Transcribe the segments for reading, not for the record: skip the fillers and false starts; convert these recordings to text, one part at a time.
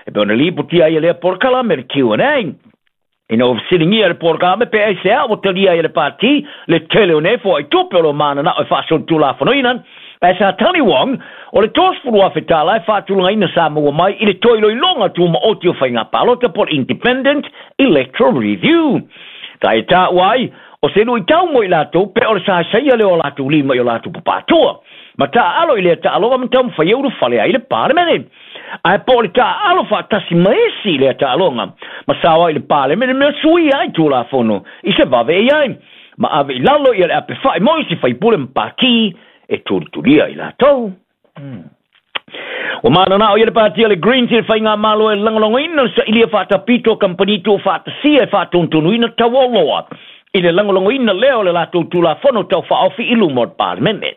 E pei ona lipotia ai e lea polokalame le Q&A. Ina ua fesiligia e le polokalame pe aisea ua talia ai e le Pati le tele o nei foaitupe o lo o mananao e faasolitulafonoina, ae sa tali Wong, o le $30,000 e faatulagaina sa maua mai i le toe iloiloga tumaoti o faiga palota po o le Independent Electoral Review. Sa e taua ai, o se luitau mo i latou pe o le saesaia lea o latou lima i o latou papatua ma taaalo i lea taaloga ma taumafai e ulufale ai i le Palemene. Ae po o le taaalo faatasi ma isi i lea taaloga ma sao ai i le Palemene mea suia ai Tulafono i se vave e i ai ma ave i lalo ia le apefa'i mo isi faipule ma pati e tulitulia i latou. Ua mananao ia le Pati a le Greens i le Faigamalo e lagolagoina le sailia faatapito a kamupani tuufaatasia e faatonutonuina tauoloa i le lagolagoina lea o le latou Tulafono Tau Faaofi i luma o le Palemene.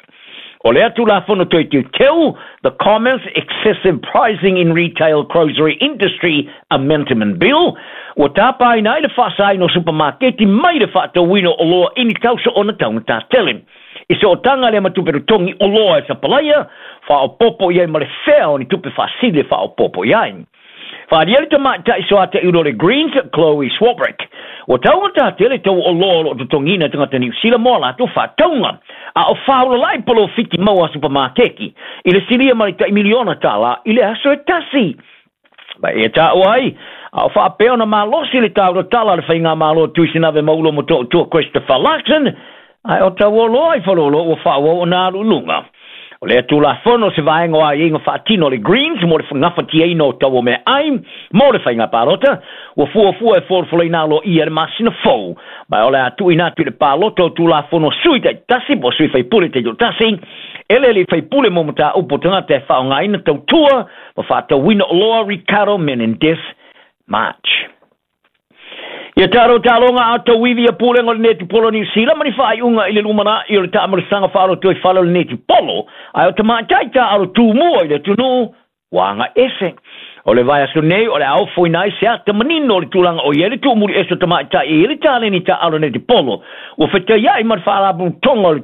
O lea Tulafono Toe Teuteu, The Commerce Excessive Pricing in Retail Grocery Industry Amendment Bill, ua tapaina ai le faasaina o supamaketi mai le faatauina o oloa i ni tausoona taugata tele. I sootaga lea ma tupe totogi oloa e sapalaia, faaopoopo i ai ma le fea o ni tupe faasili e faaopoopo i ai. Faaalia le tamaitai soataiulu o le Greens, Chloe Swarbrick, ua taugata tele tau oloa o lo o totogiina e tagata Niu Sila mo a latou faatauga, a o faaulala'i polofiti maua a supamakeki i le silia ma le tai miliona tala i le aso e tasi. Ma e taua ai, a o faapea ona malosi le taulatala a le Faigamalo Tuisinave Maulo Motootua Christopher Luxon, ae o tauoloa i Faleolo ua faaauau ona alu i luga. O lea Tulafono se vaega o aiaiga faatino a le Greens mo le gafatiaina o tau o meaai mo le faiga palota, ua fuafua e folafolaina aloaia i le masina fou, ma o le a tuuina atu i le palota o Tulafono a sui taitasi po o sui faipule taitoatasi, eleele faipule mo mataupu o tagata e faaaogaina tautua ma faatauina oloa Ricardo Menendez March. Ia talo taloga a tauivi ia pulega o le netipolo Niu Sila ma ni faaiuga i le lumanai o le taamalosaga faa-lotoifale o le netipolo, ae o tamaitai taaalo tumua i le atunuu ua agaese. O le vaiaso nei o le a ofoina ai se ata manino o le tulaga o i ai le tuumuli ese o tamaitai e i ai le taleni taaalo netipolo ua fetaiai ma le faalapotopotoga o le,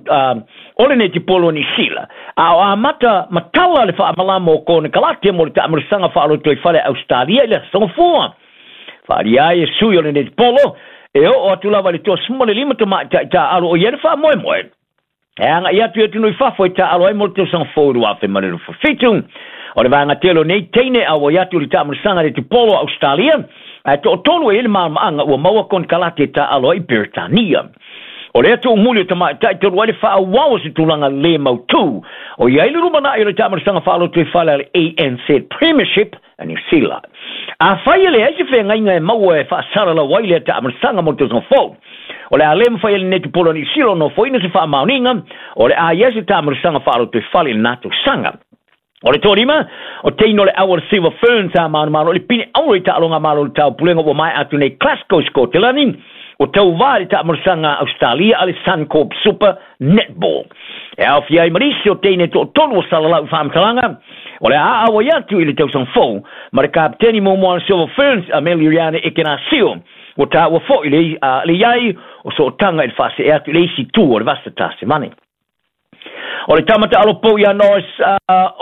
o le netipolo o Niu Sila, a o amata matala le faamalama o konekarate mo le taamalosaga faa-lotoifale a Ausetalia i le Aso Gafua. Faaalia ai e sui o le netipolo e oo atu lava i le 35 tamaitai taaalo o i ai le faamoemoe e agai atu i atunuu i fafo e taaalo ai mo le tausaga fou 2027. O le vaega tele o nei teine auai atu i le taamalosaga netipolo a Ausetalia, ae toatolu e i ai le malamaaga ua maua konekarate e taaalo ai i Peretania. O lea tuumuli o tamaitai talu ai le faaauau o se tulaga le mautū o i ai le lumanai o le taamalosaga faalotoifale a le ANZ Premiership a Niu Sila. Afai e leai se feagaiga e maua e faasalalau ai lea taamalosaga mo le tausaga fou, o le a le mafai e le netipolo a Niu Sila ona ofoina se faamaoniga o le a i ai se taamalosaga faalotoifale i lena tausaga. O le toalima, o teine o le au o le Silver Ferns a manumalo i le pine auro i taaloga malo o le taupulega ua maea atu nei Glasgow, Sikotelani, ua tauva i le taamalosaga a Ausetalia a le Suncorp Super Netball. E aofia ai ma nisi o teine toatolu o salalau i faamatalaga, o le a auai atu i le tausaga fou ma le kapeteni muamua a le Silver Ferns Ameliariane Ekenasio, ua taua foi le, le i ai o sootaga i le faasee atu i le isi itu o le Vasa Tasemane. O le tama taalo pou ia Norris,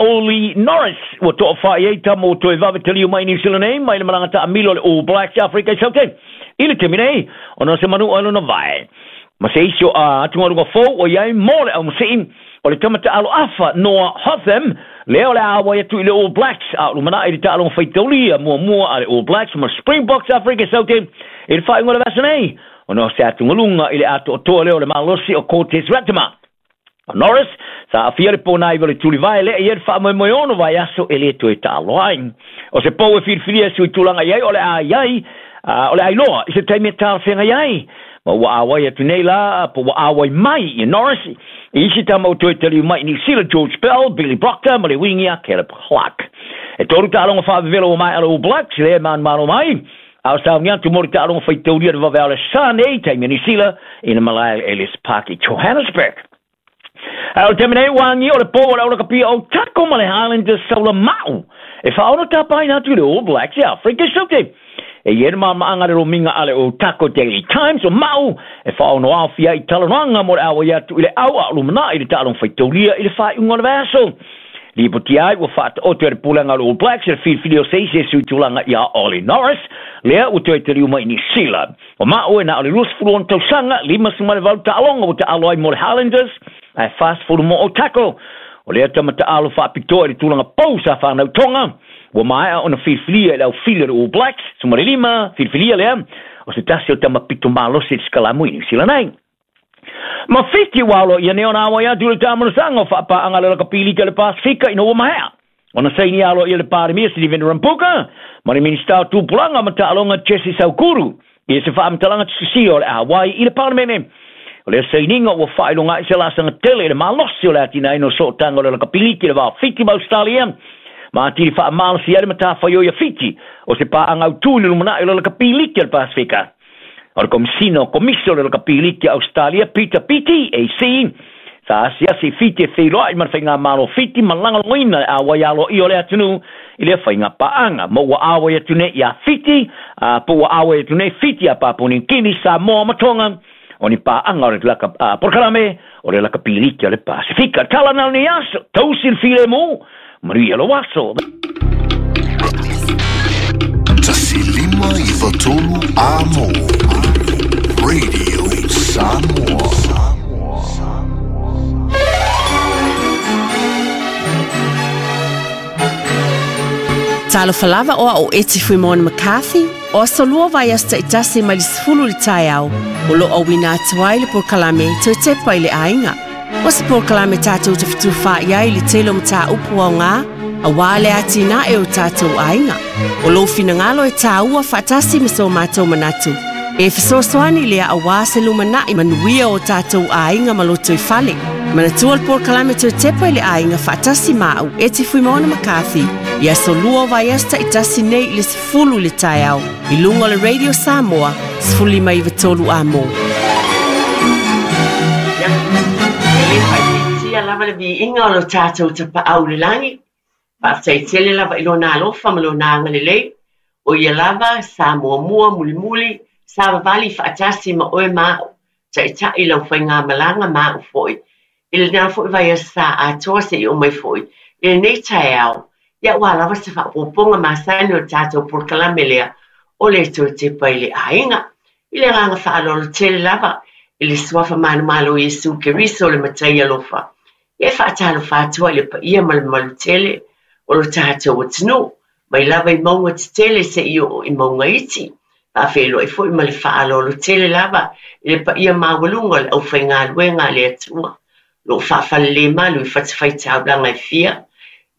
Oli Norris, ua toafai ai tama ua toe vave taliu mai i Niu Sila nei, mai le malaga taamilo a le All Blacks i Afrika i Saute. I le taimi nei, ona o se manu ai lona vae. Ma se isi o atugaluga fou ua i ai mo le aumasii, o le tama taalo afa Noah Hotham, lea o le a auai atu i le All Blacks, a o lumanai i le taaloga faitaulia muamua a le All Blacks ma Springboks Afrika i Saute i le faaiuga o le vaiaso nei, ona o se atugaluga i le atoatoa lea o le malosi o Cortez Ratima. O Norris, sa aafia le pōnaiva o le tulivae lea i ai le faamoemoe ono vaiaso e le toe taaloa ai. O se pou e filifilia e sui tulaga i ai o le a i ai, o le a iloa i se taimi e talafeagai ai. Ma ua auai atu nei la, po ua auai mai i Norris, i isi tama ua toe taliu mai i Niu Sila, George Bell, Billy Proctor ma le wingi a Caleb Clark. E tolu taaloga faavevela ua maea le All Blacks, lea e manumalo mai, A o sauni atu mo le taaloga faitaulia le vave o le sa nei taimi a Niu Sila i le malae Ellis Park i Johannesburg. A o le taimi nei ua agia o le pou o le aulakapia o Otago ma le Highlanders Saula Ma'u e faaono tapaina atu i le All Blacks i Afrika i Saute. E i ai le maamaaga le lomiga a le Otago Daily Times o Ma'u e faaono aofia ai i talanoaga mo le auai atu i le au a o lumanai i le taaloga faitaulia i le faaiuga o le vaiaso. Lipotia ai ua faataoto e le pulega o le All Blacks le filifili o se isi e suitulaga ia Ollie Norris, lea ua toe taliu mai i Niu Sila. O maʻu e na o le 26 tausaga, 58 taaloga ua taalo ai mo le Highlanders, ae 40 mo Otago. O lea tama taalo faapitoa i le tulaga pou sa fanau Tonga, ua maea ona filifilia e le aufili o le All Blacks, 15 filifilia lea, o se tasi o tama pito malosi i le sikalamu i Niu Sila nei. Ma Fiti ua aloaia nei ona auai atu i le taamanasaga o faapaaga a le Lakapilita i le Pasefika ina ua maea ona saini aloaia le Palemia Stephen Rambuka ma le Minisita o Tupulaga ma Taaloga Jesse Saukuru i se faamatalaga tusisia o le auai i le Palemene. O lea sainiga ua faailoga ai se laasaga tele i le malosi o le atinaeina o sootaga o le Lakapilita i le va o Fiti ma Ausetalia, ma atili faamalosi ai le matafaioi a Fiti o se paaga autu i le lumanai o le Lakapilita i le Pasefika. O le Komisina o Komisi o le Lakapiliti a Ausetalia, Peter Beattie, AC, sa asiasi i Fiti e feiloai ma le Faigamalo o Fiti ma lagolagoina le auai aloaia o le atunuu i lea faiga paaga. Ma ua auai atu nei ia Fiti, a po ua auai atu nei Fiti ia Papua Niu Kini, Samoa ma Tonga, o ni paaga o le laka, a, polokalame o le Lakapiliti o le Pasefika. Tala na o lenei aso, tausi le filemu, manuia lou aso. 1593 Amo Radio Samoa. Talofa lava o au Eti Fuimona McCarthy, o aso lua vaiaso taitasi mai le 10 i le taeao, o lo o auina atu ai le polokalame Toe Tepa i le Aiga. O se polokalame tatou te fetufaai ai i le tele o mataupu aoga, aua le atinae o tatou aiga. O lou finagalo e tāua faatasi ma so matou manatu. E fesoasoani lea aua se lumanai manuia o tatou aiga ma lotoifale. Manatua le polokalame Toe Tepa i le Aiga faatasi ma au Eti Fuimaono McCarthy i aso lua o vaiaso taitasi nei i le 10 i le taeao i luga o le Radio Samoa 1593 Amo. Ia, e le faaitiitia lava le viiga o lo tatou Tapaau i le lagi. Faafetai tele lava i Lona alofa ma Lona agalelei, o Ia lava sa muamua, mulimuli, sa vavali faatasi ma oe ma au, taitai lau faigamalaga ma au foi. I lena foi vaiaso sa atoa seia oo mai foi i lenei taeao, ia aua lava se faaopoopoga masani o le tatou polokalame lea o le Toe Tepa i le Aiga. I le agaga faaaloalo tele lava i le Suafa manumalo o Iesu Keriso le Matai alofa, ia e faatalofa atu ai i le paia ma le mamalu tele o lo tatou atunuu, mai lava i mauga tetele seia oo i mauga iti. Faafeiloai foi ma le faaaloalo tele lava i le paia maualuga o le aufaigaluega a le Atua, o lo o faafalelemalu i fatafaitaulaga e fia,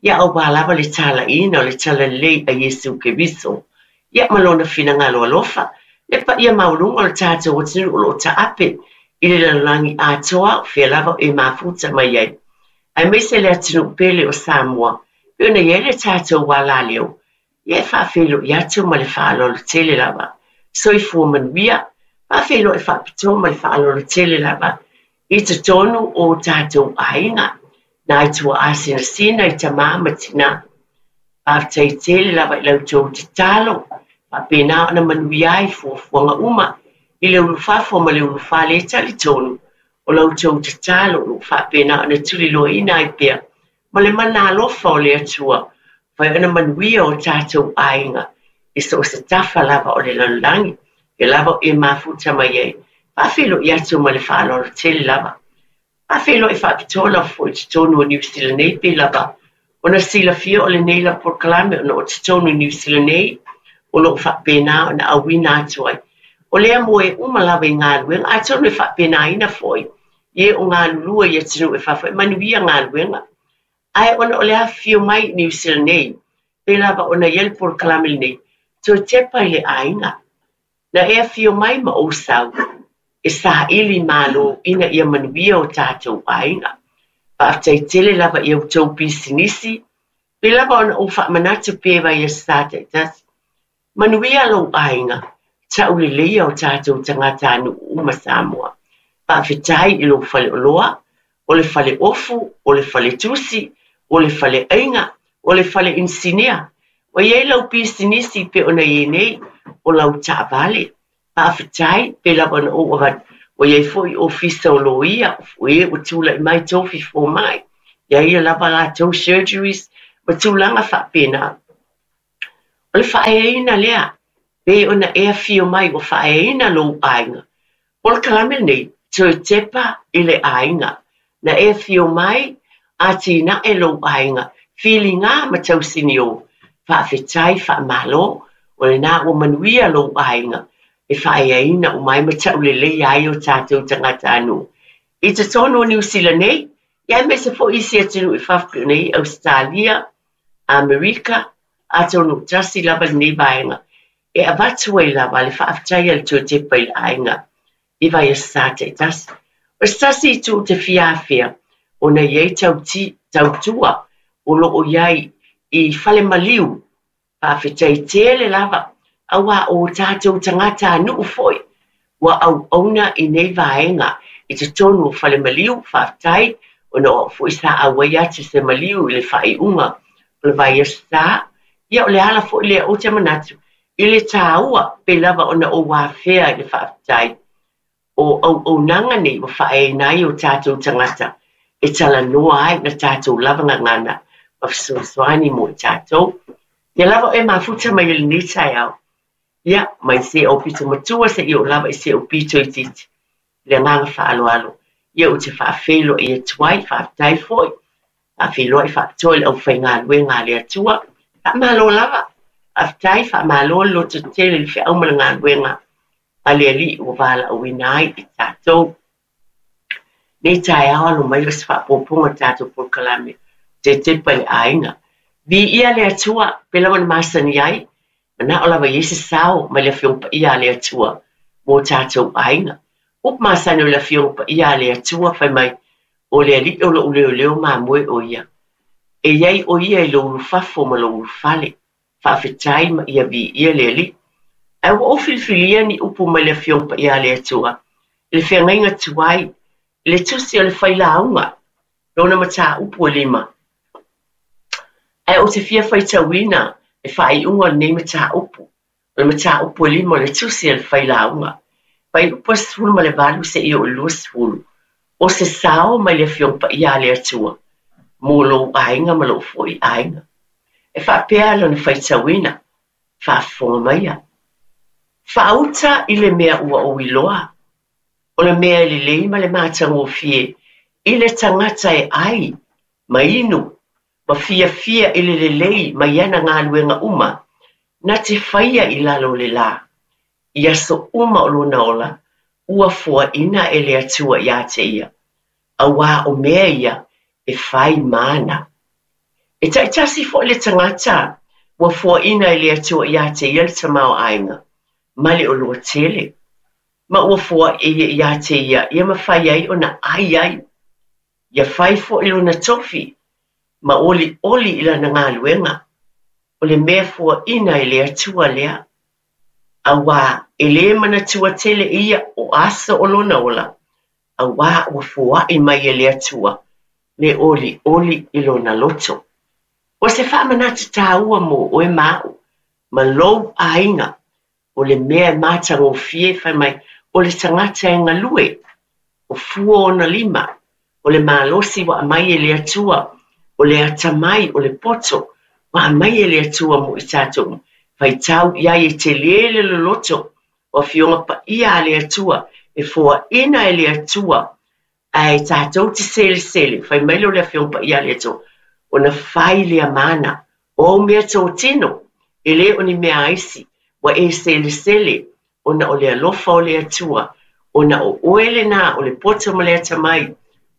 ia aua lava le talaiina o le Talalelei a Iesu Keriso, ia ma Lona finagalo alofa, le paia maualuga o le tatou atunuu o lo o taape i le lalolagi atoa o fea lava o e mafuta mai ai, aemaise le atunuu pele o Samoa, pei ona i ai le tatou alaleo, ia e faafeiloai atu ma le faaaloalo tele lava. Soifua manuia, faafeiloai faapitoa ma le faaaloalo tele lava i totonu o tatou aiga, nai tuaa sinasina i tamā ma tinā. Faafetai tele lava i la outou tatalo, faapena ona manuia ai fuafuaga uma i le ulufafo ma le ulufale e talitonu o la outou tatalo o lo o faapena ona tuliloaina ai pea ma le mana alofa o le Atua, fai ona manuia o tatou aiga i so o se tafa lava o le lalolagi, e lava o e mafuta mai ai. Faafeiloai atu ma le faaaloalo tele lava. Faafeiloai faapitoa lava foi i totonu o Niu Sila nei, pei lava ona silafia o lenei lava polokalame ona o totonu i Niu Sila nei o lo o faapena ona auina atu ai. O lea moe uma lava i galuega, atonu e faapenaina foi i e o galulue i atunuu e fafo e manuia galuega. Ae ona o le afifio mai i Niu Sila nei, pei lava ona i ai le polokalame lenei, toe tepa i le aiga. Na e afio mai ma ou sau, e saili malo ina ia manuia o tatou aiga. Faafetai tele lava i a outou pisinisi, pei lava ona ou faamanatu pea i vaiaso sa taitasi. Manuia lou aiga, tauleleia o tatou tagatanuu uma Samoa. Faafetai i lou faleoloa, o le fale ofu, o le fale tusi, o le fale aiga, o le fale inisinia. Ua i ai lau pisinisi pei ona i ai nei, o lau taavale. Faafetai, pei lava ona ou avatu, ua i ai foi ofisa o loia, o e ua tulai mai tofi fomai. Ia ia lava latou surgeries ma tulaga faapena. O le faaeaina lea, pei ona e afio mai ua faaeaina lou aiga. Polokalame lenei, toe tepa i le aiga. Na e afio mai, atinae lou aiga, filiga ma tausinio. Faafetai, faamalo, o lena ua manuia lou aiga, e faaeaina uma ai ma tauleleia ai o tatou tagatanuu. I totonu o Niu Sila nei, ia aemaise foi isi atunuu i fafo pei ona i ai Ausetalia, Amerika, atonu tasi lava lenei vaega e avatu ai lava le faafetai a le toe tepa i le aiga i Vaiaso Sa taitasi. O se tasi itu ou te fia afea, ona e i ai tautua o lo o i ai i fale maliu. Faafetai tele lava, auā o tatou tagatanuu foi ua auauna i nei vaega i totonu o fale maliu. Faafetai ona o au foi sa auai atu i se maliu i le faaiuga o le vaiaso sa. Ia o le ala foi lea ou te manatu i le tāua pei lava ona ou afea i le faafetai o auaunaga nei ua faaeaina ai o tatou tagata e talanoa ai na tatou lava gagana ma fesoasoani mo i tatou. Ia lava oe mafuta mai i lenei taeao. Ia, mai se ou pito matua seia oo lava i se ou pito itiiti. I le agaga faaaloalo, ia ou te faafeiloai atu ai, faafetai foi, faafeiloai faapitoa i le aufaigaluega a le Atua. Faamalo lava, faafetai, faamalo le lototele i le feau ma le galuega a le Alii ua valaauina ai i tatou. Nei taeao alo mai o se faaopoopoga o tatou polokalame tetepa i le aiga. Viia le Atua, pei lava ona masani ai, manao lava i ai se sao mai le Afioga Paia a le Atua mo tatou aiga. Upu masani o le Afioga Paia a le Atua fai mai, o le Alii o lou leoleo mamoe o ia. E i ai o ia i lou ulufafo ma lou ulufale. Faafetai ma ia viia le Alii. Ae ua ou filifilia ni upu mai le Afioga Paia a le Atua i le feagaiga tuai, i le tusi o le failauga, lona mataupu e lima. Ae ou te fia faitauina le faaiuga o lenei mataupu, o le mataupu e lima o le tusi a le failauga. Fuaiupu 18 seia oo i le 20, o se sao mai le Afioga Paia a le Atua mo lou aiga ma lou foi aiga. E faapea lona faitauina, faafofoga maia. Faauta i le mea ua ou iloa, o le mea e lelei ma le matagofie i le tagata e ai ma inu ma fiafia i le lelei mai ana galuega uma na te faia i lalo o le lā, i aso uma o lona ola, ua foaina e le Atua iā te ia, auā o mea ia e fai ma ana. E taitasi foi le tagata ua foaina e le Atua iā te ia le tamaoaiga ma le oloa tele, ma ua foai e ia iā te ia ia mafai ai ona ai ai, ia fai foi lona tofi ma olioli i lana galuega, o le mea foaina e le Atua lea, auā e lē manatua tele e ia o aso o lona ola, auā ua foai mai e le Atua le olioli i lona loto. O se faamanatu tāua mo oe ma aʻu ma lou aiga, o le mea e matagofie fai mai, o le tagata e galue, o fua ona lima, o le malosi ua aumai e le Atua, o le atamai, o le poto ua aumai e le Atua mo i tatou. Faitau i ai e tele le loloto o Afioga Paia a le Atua, e foaina e le Atua, ae tatou te selesele, fai mai lea o le Afioga Paia a le Atua, ona fai lea ma ana, o au mea totino, e le o ni mea aisi, ua e selesele, ona o le alofa o le Atua, ona o oe lena o le poto ma le atamai,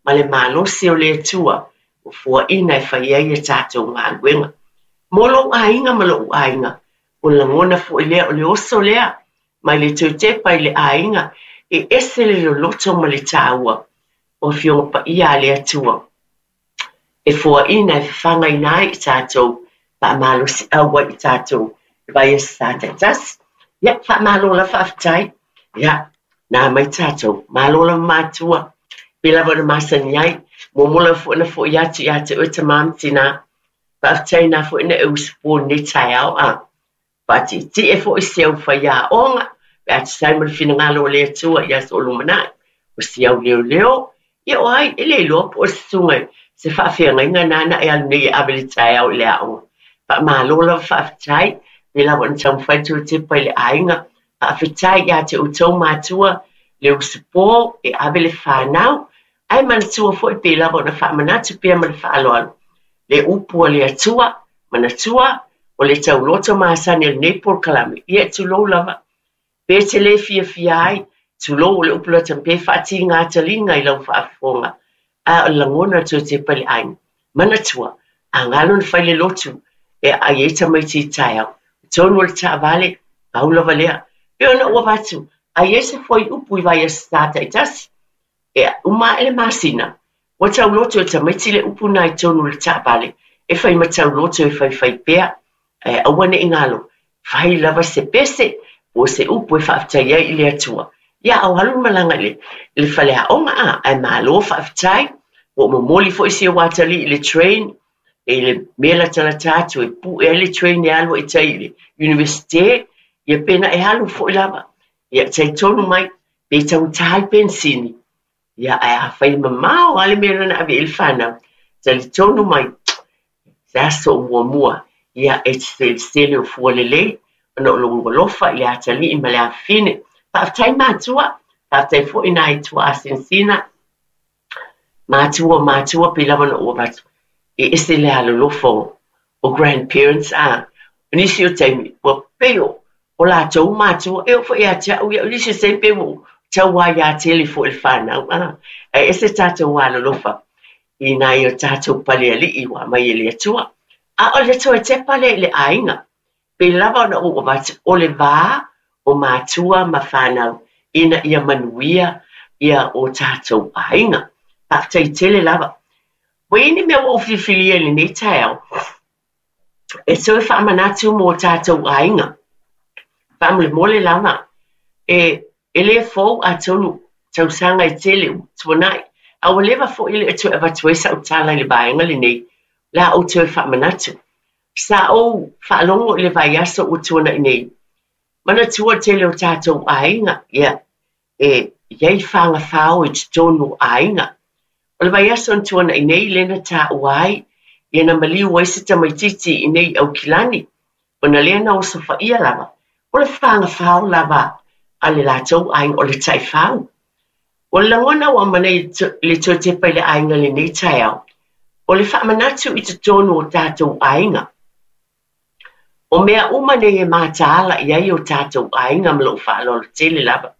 ma le malosi o le Atua, ua foaina e fai ai a tatou galuega. Mo lou aiga ma lou aiga, o le lagona foi lea, o le oso lea, mai le toe tepa i le aiga, e ese le loloto ma le tāua o Afioga Paia a le Atua, e foaina e fafagaina ai i tatou, faamalosiau ai i tatou i vaiaso sa taitasi. Ia, faamalo lava faafetai. Ia, na mai tatou, malo lava matua, pei lava ona masani ai, muamua lava foi ona foi atu ia te oe tamā ma tinā. Faafetai na foi na e usupo i lenei taeao a. Faatietie foi si au faiaoga, pe a tusa ai ma le finagalo o le Atua i aso o lumanai, o si au leoleo, ia o ai, e le iloa po o se susuga i Se faafeagaiga na e alu nei e ave le taeao i le aoga. Faamalo lava faafetai, pei lava ona taumafai le toe tepa i le aiga. Faafetai ia te outou matua le usupo e ave le fanau, ae manatua foi pei lava ona faamanatu pea ma le faaaloalo le upu a le Atua, manatua o le tauloto masani o lenei polokalame, ia tulou lava. Pe te le fiafia ai, tulou o le upu lata pe faatiga taliga i lau faafofoga, a o le lagona toe tepa i le aiga. Manatua, a galo na fai le lotu e aai ai tamaiti i taeao, tonu o le taavale, pau lava lea. Pe ona ua avatu, a i ai se fuaiupu i vaiaso sa taitasi, e uma ae le masina, ua tauloto e tamaiti le upu na i tonu o le taavale, e fai ma tauloto e faifai pea, ae aua ne i galo, fai lava se pese po o se upu e faafetai ai i le Atua. Ia au alu le malaga i le faleaoga a, ae malo faafetai, ua ou momoli foi si ou atalii i le train, e i le mea latalata atu e pue ai le train e alu ai i tai i le Universite, ia pe na e alu foi lava. Ia talitonu mai, pe taugata le penisini, ia ae afai e mamao lava le mea na ave i ai le fanau, talitonu mai, se aso o muamua, ia e te selesele o fua lelei, ona o lou alofa i le atalii ma le afafine. Faafetai matua, faafetai foi nai tuaasinasina, matua o matua pei lava ona ou avatu, e ese le alolofa o grandparents a. O nisi o taimi, ua pei o latou matua, e oo foi ia te au, ia o nisi o taimi pei ua ou tauaiā tele foi i le fanau a. Ae ese tatou alolofa i nai o tatou palealii ua aumai e le Atua. A o le toe tepa lea i le aiga, pei lava ona ou avatu, o le va o matua ma fanau ina ia manuia ia o tatou aiga. Faafetai tele lava. Ua i ai ni mea ua ou filifilia i lenei taeao e toe faamanatu mo tatou aiga. Faamolemole lava, e le fou atonu tausaga e tele ua tuanai, a ua leva foi e le o toe avatu ai sau tala i le vaega lenei, o le a ou toe faamanatu. Sa ou faalogo i le vaiaso ua tuanai nei, manatua le tele o tatou aiga, ia, e i ai fagafao i totonu o aiga. O le vaiaso na tuanai nei lea na taua ai, ia na maliu ai se tamaitiiti i nei Aukilani, ona lea na osofaia lava, o le fagafao lava a le latou aiga, o le taifau. O le lagona ua aumai le toe tepa i le aiga i lenei taeao, o le faamanatu i totonu o tatou aiga. O mea uma nei e mataala i ai o tatou aiga ma lou faaaloalo tele lava.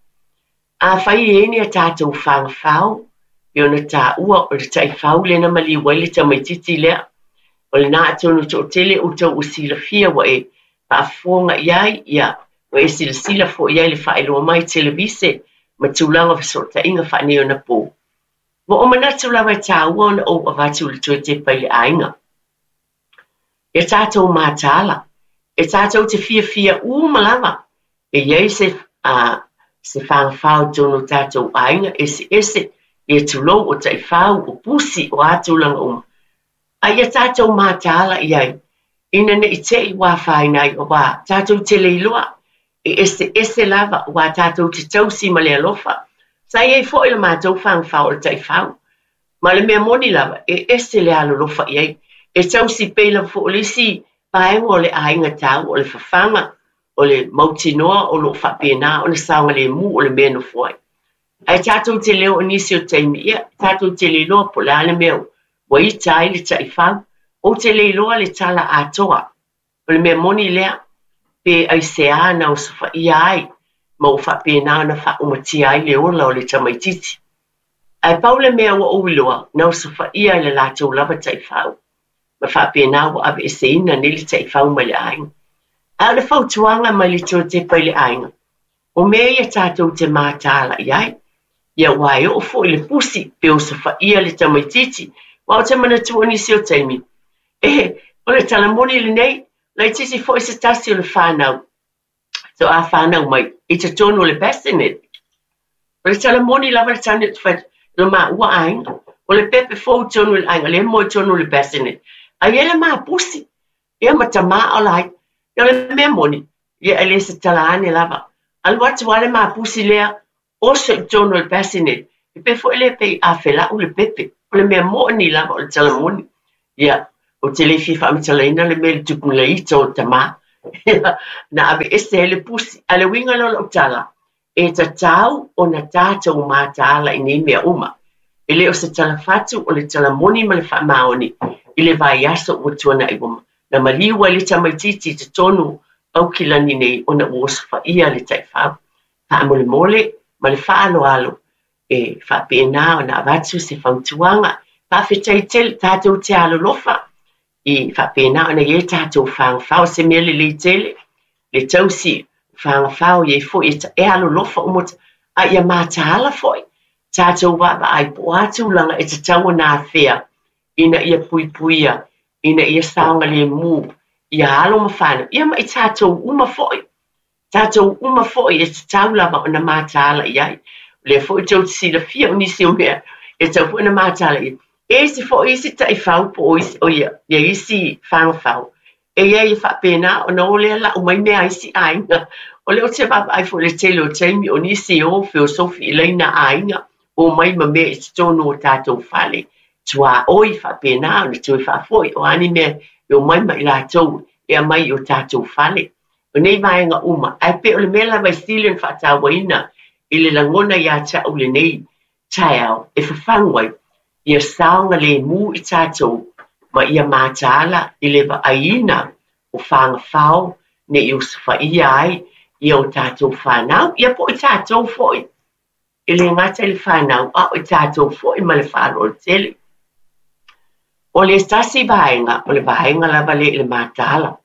Afai e i ai ni a tatou fagafao, pei ona taua o le taifau lea na maliu ai le tamaitiiti lea, o lena atonu toatele outou ua silafia ua e faafofoga i ai, ia, ua e silasila foi i ai i le faailoa mai televise ma tulaga o fesootaiga faaneionapo. Ua ou manatu lava e taua ona ou avatu i le toe tepa i le aiga. Ia tatou mataala, e tatou te fiafia uma lava e i ai se se fagafao i totonu o tatou aiga eseese, ia tulou o taifau, o pusi, o a tulaga uma. A ia tatou mataala i ai, ina ne i te i ua afaina ai, aua tatou te le iloa, e eseese lava, aua tatou te tausi ma le alofa. Sa i ai foi le matou fagafao o le taifau. Ma o le mea moni lava, e ese le alolofa i ai. E tausi pei lava foi o le isi vaega o le aiga taua, o le fafaga, o le mautinoa o lo o faapena ona saogalemu o le mea e nofo ai. Ae tatou te le oo i nisi o taimi, ia, tatou te le iloa po o le a le mea ua ita ai le taifau. Ou te le iloa le tala atoa. O le mea moni lea, pe aisea na osofaia ai ma ua faapena ona faaumatia ai le ola o le tamaitiiti. Ae pau le mea ua ou iloa, na osofaia e le latou lava taifau, ma faapena ua aveeseina nei le taifau mai le aiga. Ae o le fautuaga mai le toe tepa i le aiga, o mea ia tatou te mataala i ai, ia aua e oo foi i le pusi pe osofaia le tamaitiiti, aua ou te manatua nisi o taimi, e, o le tala moni lenei, laitiiti foi se tasi o le fanau, toa fanau mai i totonu o le bassinet. O le tala moni lava le tane ou te fai atu, lo maua aiga, o le pepe fou i totonu o le aiga, lea e moe i totonu o le bassinet. Ae i ai le ma pusi, ia ma tamā o la ai. Ia o le mea moni, ia e le se tala ane lava. Alu atu lava le ma pusi lea, oso i totonu o le bassinet, e pei foi lea pei a felau le pepe. O le mea moni lava o le tala moni. Ia, ou te le fia faamatalaina le mea i le tupu na ita o le tamā. Ia, na aveese ai le pusi. A o le uiga lea o lau tala, e tatau ona tatou mataala i nei mea uma. E le o se tala fatu, o le tala moni ma le faamaoni i le vaiaso ua tuanai ua na maliu ai le tamaitiiti i totonu o Aukilani nei ona ua osofaia le taifau. Faamolemole ma le faaaloalo e faapena ona avatu se fautuaga. Faafetai tele, tatou te alolofa i faapena ona i ai tatou fagafao, se mea lelei tele le tausi fagafao i ai foi e alolofa uma, a ia mataala foi tatou vaavaai po o a tulaga e tatau ona afea ina ia puipuia, ina ia saogalemu ia alo ma fanau, ia ma i tatou uma foi. Tatou uma foi e tatau lava ona mataala i ai. O lea foi tou te silafia o nisi o mea e tatau foi ona mataala i ai. E isi foi isi taifau po o isi, o ia, ia isi fagafao, e i ai e faapena ona o lea lau mai mea a isi aiga. O lea ou te vaavaai foi i le tele o taimi o nisi e o feosofi i laina aiga, o mai ma mea i totonu o tatou fale, tuaoi faapena ona toe faafoi, o a ni mea e omai ma i latou e aumai i o tatou fale. O nei vaega uma, ae pei o le mea lava e sili ona faatauaina i le lagona ia te au lenei taeao e fafagu ai, ia saogalemu i tatou ma ia mataala i le vaaiina o fagafao ne i osofaia ai ia o tatou fanau, ia po o i tatou foi. E le gata i le fanau, a o i tatou foi ma le faaaloalo tele. O le tasi vaega, o le vaega lava lea i le mataala.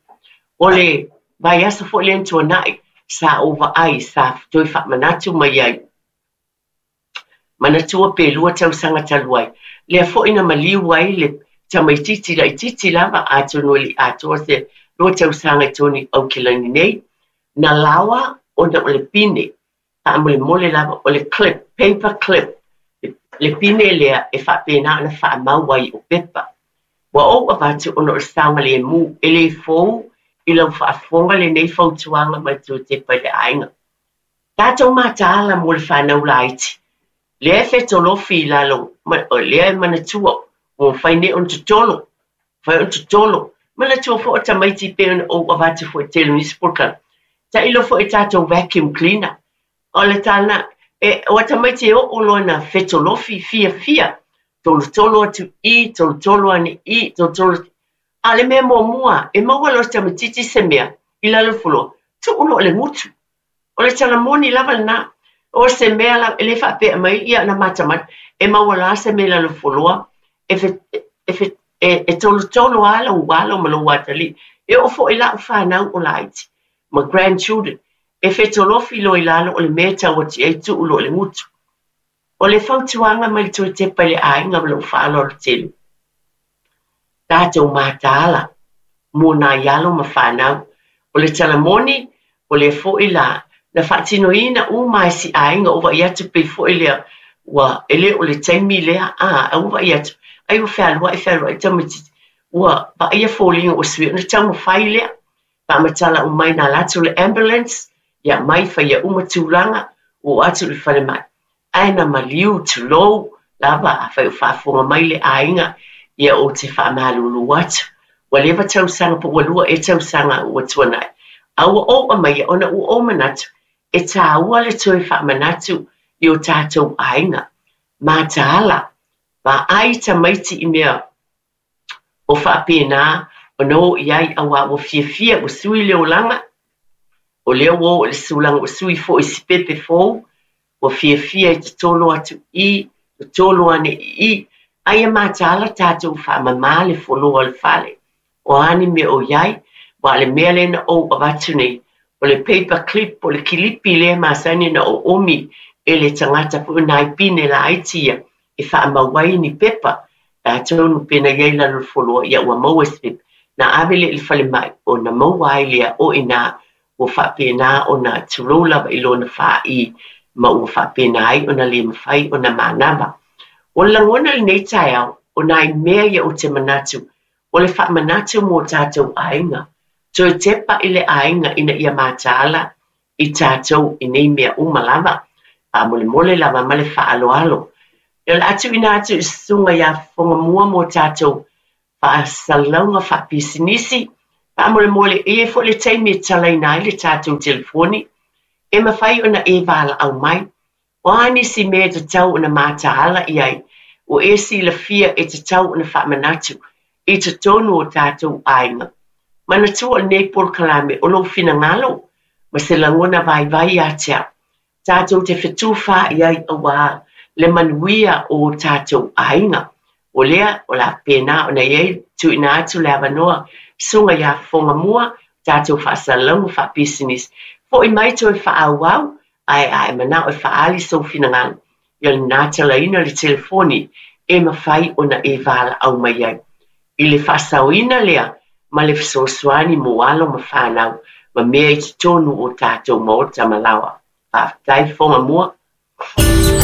O le vaiaso foi lea na tuanai, sa ou vaai, sa toe faamanatu mai ai, manatua pe 2 tausaga talu ai, lea foi na maliu ai le tamaitiiti laitiiti lava, atonu e le i atoa se 2 tausaga i totonu i Aukilani nei, na laoa ona o le pine faamolemole lava, o le clip, paper clip, le pine lea e faapena ona faamau ai o pepa. Ua ou avatu ona o le saogalemu, e le fou i lau faafofoga lenei fautuaga mai toe tepa i le aiga. Tatou mataala mo le fanau laiti, lea e fetolofi i lalo, lea e manatua, ua mafai nei ona totolo, mafai ona totolo. Manatua foi o tamaiti pei ona ou avatu foi tele o nisi polokalame. Tailo foi i tatou vacuum cleaner. O le tala, e, o tamaiti e oo loa na fetolofi fiafia, tolotolo atu i, tolotolo ane i, tolotolo atu. A o le mea muamua, e maua loa e se tamaitiiti se mea i lalo o le fuloa, tuu loa i le gutu. O le tala moni lava lena. O se mea lava, e le faapea mai ia na matamata, e maua loa se mea i lalo o le fuloa, e, fe, e, fe, e, e tolotolo lava lou alo ma lou atalii. E oo foi i lau fanau o laiti ma grandchildren, e fetolofi loa i lalo o le mea e tau atu i ai tuu loa i le gutu. O le fautuaga mai le toe tepa i le aiga ma lou faaaloalo tele, tatou mataala mo nai alo ma fanau. O le tala moni, o lea foi la na faatinoina uma e si aiga o vaai atu pei foi lea ua e le o le taimi lea a a ua vaai atu ai ua fealuai fealuai tamaitiiti ua vaaia foliga ua sui ona taumafai lea faamatala uma mai na alu atu le ambulance ia mai faia uma tulaga ua oo atu i le falemai ae na maliu tulou lava afai o faafofoga mai le aiga ia ou te faamalulu atu ua leva tausaga po ua 2 ea tausaga ua tuanai a ua ou aumaia ona ua ou manatu e tāua le toe faamanatu i o tatou aiga mataala vaai tamaiti i mea o faapena ona o i ai auā ua fiafia ua sui le olaga, o lea ua oo i le sulaga ua sui foi i si pepe fou, ua fiafia e totolo atu i i, totolo ane i i, a ia mataala tatou faamama le foloa o le fale, o a ni mea o i ai, aua o le mea lea na ou avatu nei, o le paper clip, o le kilipi lea e masani ona oomi e le tagata foi o nai pine laiti ia e faamau ai ni pepa, atonu pe na i ai i lalo o le foloa, ia ua maua se pepa, na ave lea i le falemai, ona maua ai lea o i ina ua faapena ona tulou lava i lona fāī, ma ua faapena ai ona le mafai ona manava. O le lagona i lenei taeao, o nai mea ia ou te manatu, o le faamanatu mo tatou aiga, toe tepa i le aiga ina ia mataala i tatou i nei mea uma lava, faamolemole lava ma le faaaloalo. Ia o le a tuuina atu i le Susuga ia Fofoga Mua mo tatou faasalalauga faapisinisi. Faamolemole, e i ai foi le taimi e talaina ai le tatou telefoni e mafai ona e valaau mai. O a nisi mea e tatau ona mataala i ai, ua e silafia e tatau ona faamanatu i totonu o tatou aiga. Manatua o lenei polokalame o lou finagalo ma se lagona vaivai ia te au, tatou te fetufaai ai auā le manuia o o tatou aiga. O lea, o le a faapena ona i ai tuuina atu le avanoa Susuga ia Fofoga Mua, tatou faasalalauga faapisinisi. Foi mai toe faaauau, ae a e manao e faaali sou finagalo, ia lena talaina le telefoni e mafai ona e valaau mai ai. I le faasaoina lea ma le fesoasoani mo alo ma fanau ma mea i totonu o tatou maota ma laoa. Faafetai Fofoga Mua.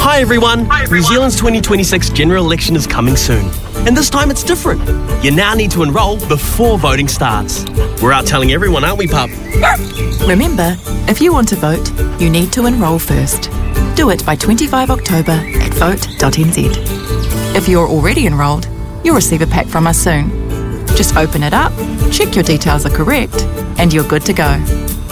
Hi everyone! New Zealand's 2026 general election is coming soon. And this time it's different. You now need to enrol before voting starts. We're out telling everyone, aren't we, pup? Remember, if you want to vote, you need to enrol first. Do it by 25 October at vote.nz. If you're already enrolled, you'll receive a pack from us soon. Just open it up, check your details are correct, and you're good to go.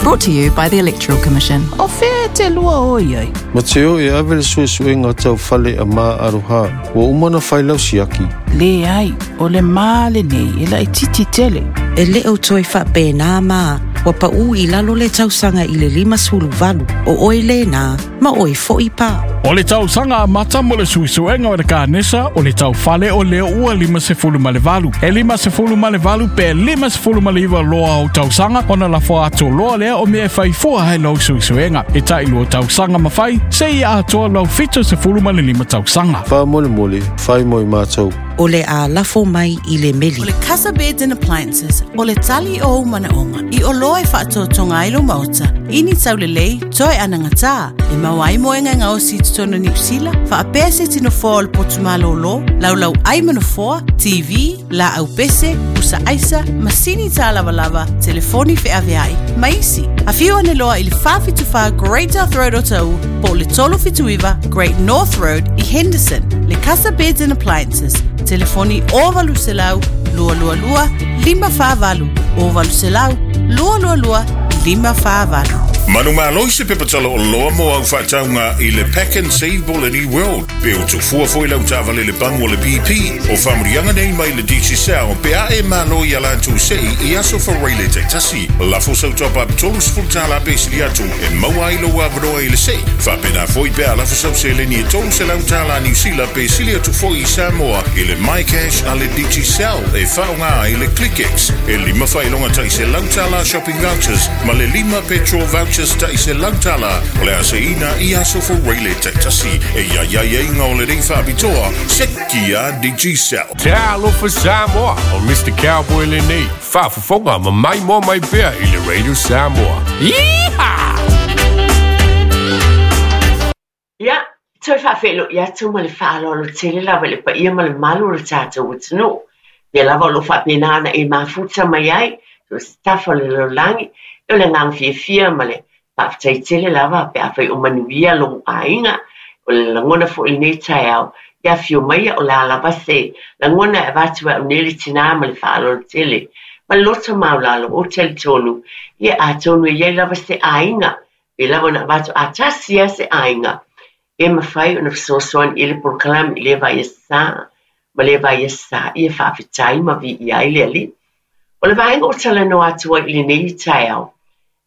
Brought to you by the Electoral Commission. O fea e te lua o i ai? Ma te o e ave le suesuega tau fale a Ma Aroha, ua uma ona fai lau siaki. Leai, o le ma lenei e laitiiti tele. E le o toe faapena ma, ua paū i lalo le tausaga i le 58, o oe lena, ma oe foi pa. O le tausaga amata mo le suesuega o le kanesa o le tau fale o lea ua 58. E 58 pe 59 loa o tausaga ona lafo atu loa lea o mea e fai fua ai lau suesuega. E tai lua tausaga ma fai, seia atoa lau 75 tausaga. Faamolemole, fai mo i matou. O le a lafo mai i le meli. O le Casa Beds and Appliances, o le tali o ou manaoga i oloa e faatotoga ai lou maota, i ni taulelei, toe anagatā, e maua ai moega e gaosi i totonu o Niu Sila, faapea se isi nofoa o le potu malōlō, laulau ʻai ma nofoa, TV, laau pese, pusa aisa, masini tālavalava, telefoni feaveai, ma isi. Afio ane loa i le 474 Great South Road o Taʻu po o le 379 Great North Road i Henderson. Le Casa Beds and Appliances, telefoni 0800 222 548, 0800 222 548. Manumalo i se pepa tala oloa mo au faatauga i le Pack and Save po o le New World, pe o tufua foi lau taavale i le pamu o le BP. O faamanuiaga nei mai le Digicel pe a e malo i a latou sei i aso Faraile taitasi. Lafo sau top up $30 pe sili atu e maua ai lou avanoa i le sei. Faapena foi pe a lafo sau seleni e $300 Niu Sila pe sili atu foi i Samoa i le MyCash a le Digicel e faaaoga ai le ClickX. E lima faailoga tai $100 shopping vouchers ma le lima petrol vouchers tai $100 o le a seiina i aso Faraile taitasi. E i ai aiaiga o lenei faapitoa, seki a Digicel. Talofa Samoa, o Mister Cowboy lenei, faafofoga ma maimoa mai pea i le Radio Samoa. Yeehaw! Ia, toe faafeiloai atu ma le faaaloalo tele lava i le paia ma le mamalu o le tatou atunuu. Ia lava o lo o faapena ona e mafuta mai ai, so o se tafa o le lalolagi, ia o le agaga fiafia ma le Faafetai tele lava pe afai o manuia lou aiga. O le lagona foi i lenei taeao, ia afio maia o le a lava se lagona e avatu e au nei le tinā ma le faaaloalo tele ma le loto maualalo ou te talitonu, ia atonu e i ai lava se aiga, pei lava ona avatu a tasi lava se aiga e mafai ona fesoasoani i le polokalame i lea vai asa ma lea vai asa, ia faafetai ma viia ai le Alii. O le vaega o talanoa atu ai i lenei taeao,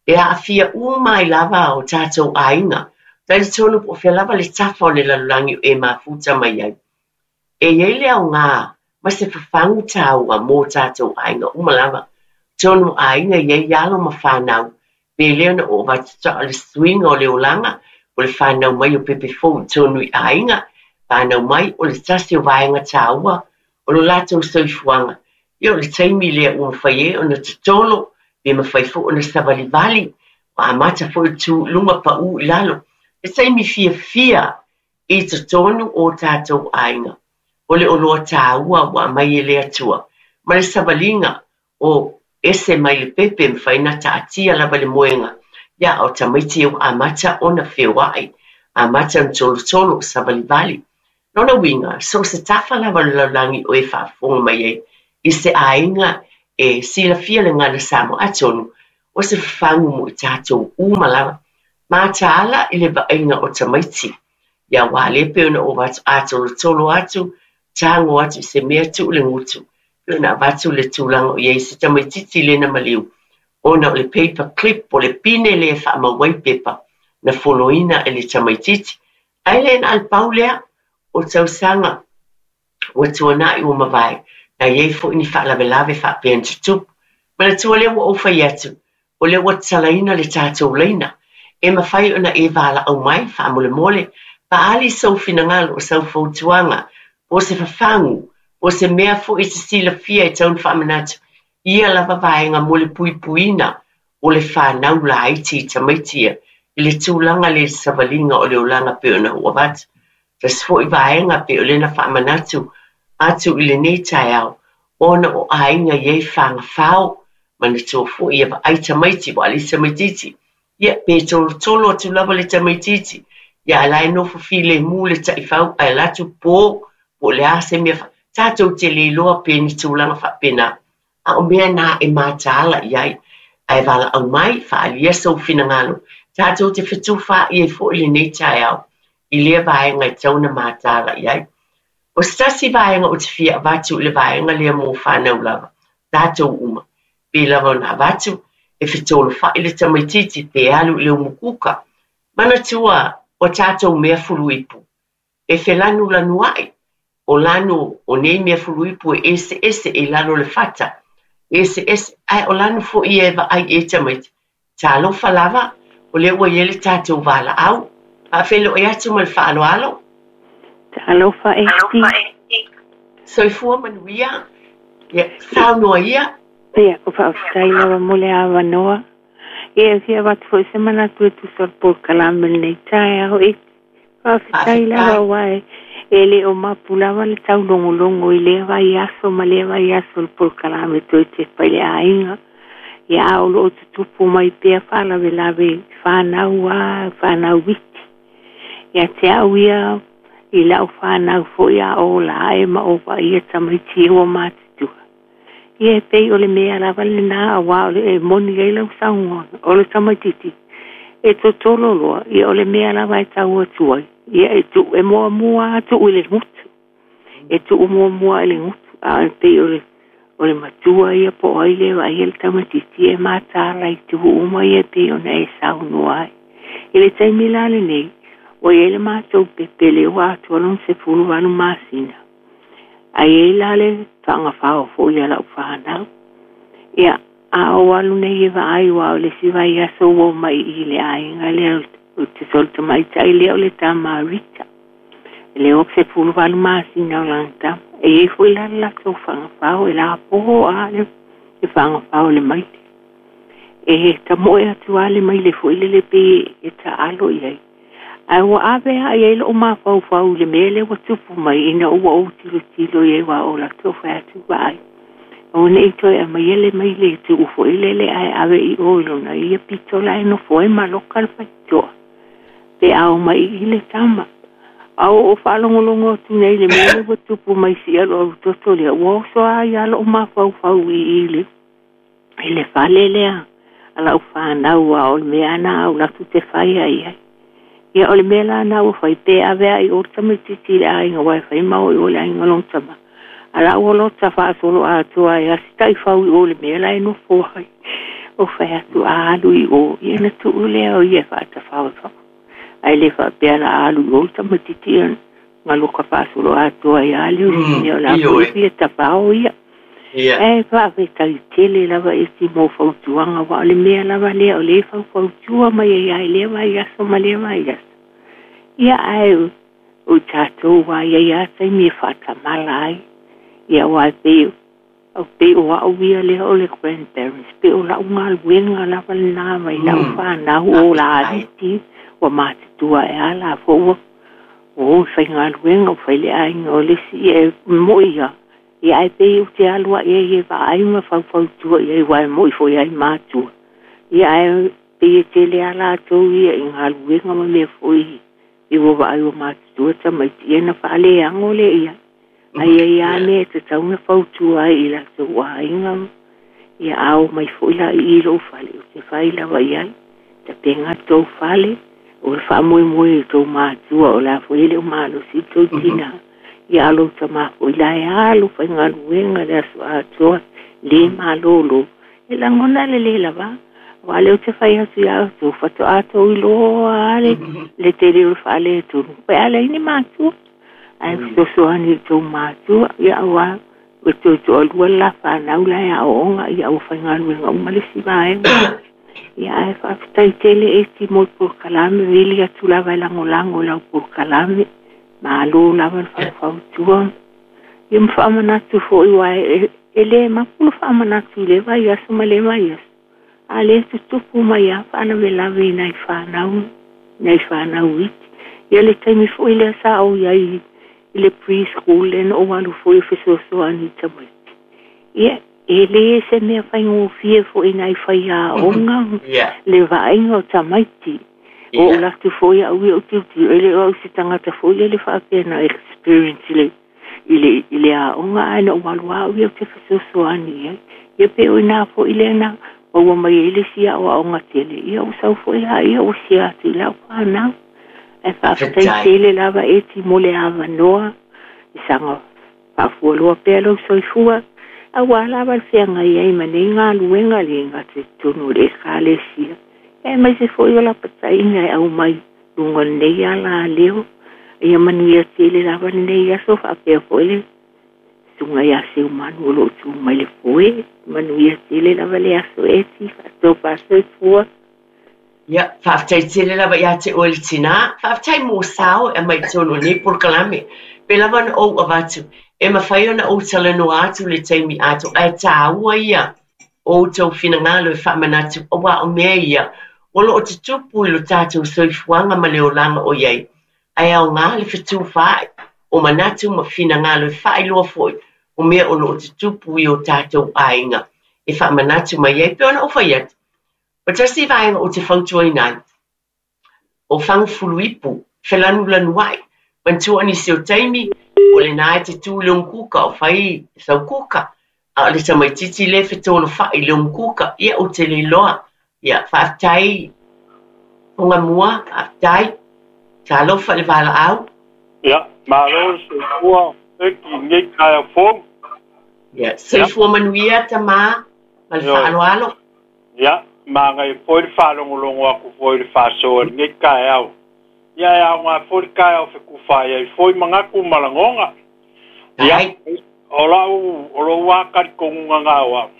E aafia uma ai lava o tatou aiga, talitonu po o fea lava le tafa o le lalolagi o e mafuta mai ai. E i ai le aoga ma se fafagu taua mo tatou aiga uma lava. Tonu aiga e i ai alo ma fanau, pe le ona oo avatu tao le suiga o le olaga o le fanau mai o pepe fou i tonu i aiga, fanau mai o le tasi o vaega taua o lo latou soifuaga. Ia o le taimi lea ua mafai ai ona totolo pe mafai foi ona savalivali, ua amata foi le tu i luga paū i lalo. He taimi fiafia i totonu o tatou aiga. O le oloa taua ua aumai e le Atua, ma le savaliga o ese mai le pepe mafai ona taatia lava le moega, ia o tamaiti ia ua amata ona feoai, amata ona tolotolo, savalivali. Lona uiga, so o se tafa lava o le lalolagi o e faafofoga mai ai i se aiga e silafia le gagana Samoa, atonu o se fafagu mo i tatou uma lava. Mataala i le vaaiga o tamaiti. Ia aua lea pei ona ou avatu, a tolotolo atu, tago atu i se mea, tuu le gutu. Pei ona avatu le tulaga o i ai se tamaitiiti lea na maliu, ona o le paper clip, o le pine lea e faamau ai pepa, na foloina e le tamaitiiti. Ae le na o le pau lea o tausaga ua tuanai ua mavae, na i ai foi ni faalavelave faapea na tutupu. Manatua lea ua ou fai atu, o lea ua tatalaina le tatou laina, e mafai ona e valaau mai faamolemole, faaali sou finagalo, o sau fautuaga, po o se fafagu, po o se mea foi e te silafia e tatau ona faamanatu, ia lava vaega mo le puipuiina o le fanau laiti i tamaiti ia i le tulaga lea i le savaliga o le olaga pei ona ou avatu. Tasi foi vaega pei o lea na faamanatu atu i lenei taeao, ona o aiga i ai fagafao, manatua foi ia vaai tamaiti, aua o le isi tamaitiiti, ia pe tolotolo atu lava le tamaitiiti, ia ae la e nofo filemu le taifau ae alu atu po, po o le a se mea, tatou te le iloa pe ni tulaga faapena. A o mea na e mataala i ai. Ae valaau mai, faaalia sou finagalo, tatou te fetufaai ai foi lenei taeao i lea vaega e tatau ona mataala i ai. O se tasi vaega ou te fia avatu i le vaega lea mo fanau lava, tatou uma, pei lava ona avatu, e fetolofai le tamaitiiti pe alu i le umukuka. Manatua o tatou mea fuluipu, e felanulanuai, o lanu o nei mea fuluipu e eseese i lalo o le fata, eseese, ae o lanu foi ia e vaai i ai tamaiti. Talofa lava, o lea ua i ai le tatou valaau. Faafeiloai atu ma le faaaloalo. Talofa Esti. Soifua manuia. Ia, saunoa ia. Ia, faafetai lava mo le avanoa. Ia, e fia avatu foi se manatu e tusa o le polokalame i lenei taeao. Faafetai lava aua e le o mapu lava le taulogologo i lea vaiaso ma lea vaiaso o le polokalame toe tepa i le aiga. Ia a o lo o tutupu mai pea faalavelave i fanau a fanau iti. Ia te au ia i lau fanau foi a ola ae ma ou vaaia tamaiti ua matutua. Ia e pei o le mea lava lenā auā o le e moni ai lau saunoaga, o le tamaitiiti e totolo loa, ia o le mea lava e tau atu ai, ia e tuu e muamua lava tuu i le gutu. E tuu muamua i le gutu, a e pei o le o le matua ia po o ai lea e vaaia le tamaitiiti e mataala i itu uma ia e pei ona e saunoa ai. I le taimi la lenei, ua i ai le matou pepe lea ua atoa lona 18 masina, Ae i ai la le faagafao foi a lau fanau. Ia, a ou alu nei e vaai aua o le isi vaiaso ua omai i le aiga lea o te solo tamaitai lea o le tama a Rita. E le o 18 masina o lana tama. E i ai foi la le latou faagafao e lapoho a le faagafao i le maile. E tamoe atu lava le maile foi lele pei e taalo i ai. Ae ua ave lava i ai lou mafaufau i le mea lea ua tupu mai ina ua ou tilotilo i ai aua o latou fai atu vaai. Aua ne i toe aumaia le maile e tuu foi lele ae ave i o i lona ia pito la e nofo ai ma loka le faitotoa pe a omai i i le tama. A ua ou faalogologo atu nei i le mea lea ua tupu mai i si alualu toto lea, ua oso lava ia lou mafaufau i i le i le fale lea a lau fanau a o le mea na au latou te fai ai ai. Ia o le mea la na ua fai pe ave a i o le tamaitiiti i le aiga aua e fai ma o i o i le aiga lona tama. A la ua lota faasolo atoa ai a si taifau i o i le mea la e nofo ai. O fai atu a alu i o, ia ona tuu lea o ia e faatafao i fafo. Ae le faapea la a alu i o le tamaitiiti ia galuka faasolo atoa ai a le mea o la foi e fia tafao ia. Ae faafetai tele lava Esi mo fautuaga aua o le mea lava lea o lea e faufautua mai ai lava i lea vaiaso ma lea vaiaso. Ia ae o tatou lava e i ai lava taimi e faatamala ai. Ia aua e pei e pei o au ia lea o le grandparents, pei o lau galuega lava lena mai lau fanau o laiti ua matutua ae a la foi ua o i faigaluega ua fai le aiga o le isi ia e mo'i lava. Ia ae pei ou te alu ae ai e vaai ma faufautua i ai aua e mo'i foi ai matua. Ia ae pei e tele lava latou ia i galuega ma mea foi I ua vaai ua matutua tamaiti ia na faaleago lea i ai. Ae i ai lava mea e tatau ona fautua ai i latou aiga ia a o mai foi la i i lou fale ou te fai lava i ai. Tapena tou fale o le faamoemoe i tou matua o le a foi e le o malosi le tou tinā. Ia a lou tamā foi la e alu faigaluega le aso atoa lē malōlō e lagona le lē lavā. Aua lea ou te fai atu iā outou faatoa tou iloa lava le le tele o le faaletonu pe a leai ni matua. Ae fesoasoani i tou matua ia auā ua toe toalua le la fanau la e aooga ia ua faigaluega uma le isi vaega. Ia ae faafetai tele Eti mo le polokalame vili atu lava e lagolago i lau polokalame. Malo lava le faufautua. Ia ma faamanatu foi aua e le mapu le faamanatu i lea vaiaso ma lea vaiaso. A lea e tutupu mai lava faalavelave i nai fanau, nai fanau iti. Ia le taimi foi lea sa ou i ai i le pre-school lea na ou alu foi e fesoasoani i tamaiti. Ia, e le se mea faigofie foi i nai faiaoga le vaaiga o tamaiti. Ua ou alu atu foi au ia ou tilotilo, e le o au se tagata foi lele faapea na experience i le i le i le aoga ae na ou alu lava au ia ou te fesoasoani i ai. Ia pei o i ina foi lea na maua mai ai le isi aoaoga tele, ia ua sau foi laia ua share atu i lau fanau. Ae faafetai tele lava Eti mo le avanoa i saga faafualoa pea lou soifua aua lava le feagai ai ma nei galuega le gata i totonu o le Ekalesia aemaise foi o lapataiga e aumai luga o lenei ala leo. Ia manuia tele lava lenei aso faapea foi le susuga ia Seumanu o lo o tu mai le foe. Manuia tele lava le aso Eti faatopa soifua. Ia, faafetai tele lava ia te oe le tinā. Faafetai mo sao e aumai i totonu o lenei polokalame. Pei lava ona ou avatu, e mafai ona ou talanoa atu le taimi atoa, ae taua ia o outou finagalo e faamanatu, aua o mea ia o lo o tutupu i lo tatou soifuaga ma le olaga o i ai, ae aoga le fetufaai o manatu ma finagalo e faailoa foi o mea o lo o tutupu i o tatou aiga e faamanatu mai ai. Pei ona ou fai atu, o tasi vaega ou te fautuaina ai, o Fagafuluipu, felanulanuai. Manatua o nisi o taimi, o lena e te tu i le umukuka o fai sau kuka, a o le tamaitiiti lea e fetolofai i le umukuka, ia ou te le iloa. Ia, faafetai Togamua, faafetai. Talofa i le valaau. Ia, malo le soifua Peki i lenei taeao fou. Ia, soifua manuia tama ma le faaaloalo. Ia, manaia foi le faalogologo atu foi i le faasoa i lenei taeao. Ia, e aoga foi le taeao fetufaai ai foi manatu ma lagona. Ia, o lau, o lou lava talitonuga na o au,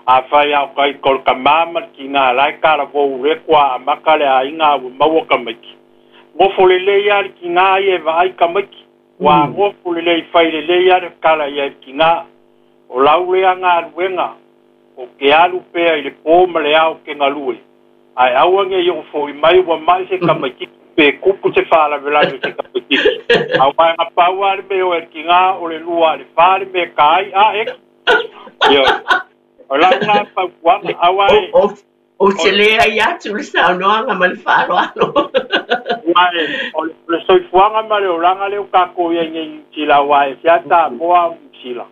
afai a o taita o le tama ma le tina la e talavou le toa amata le aiga a ua maua tamaiti. Nofo lelei lava le tina ia e vaai tamaiti. Ua nofo lelei fai lelei lava le tala i ai le tina. O lau lea galuega, Ou te alu pea i le pō ma le ao ou te galue, ae aua ne i oo foi mai ua mai se tamaitiiti pe kupu se faalavelave i se tamaitiiti. Aua e na pau lava le mea o e le tinā o le lua a le fa le mea ka ai, a eki. Ioe. O lau lena fautuaga, aua e. Ou te leai atu le saunoaga ma le faaaloalo. Aua e, o le soifuaga ma le olaga lea ua tatou i ai nei i Niu Sila, aua e ese lava Samoa a o Niu Sila.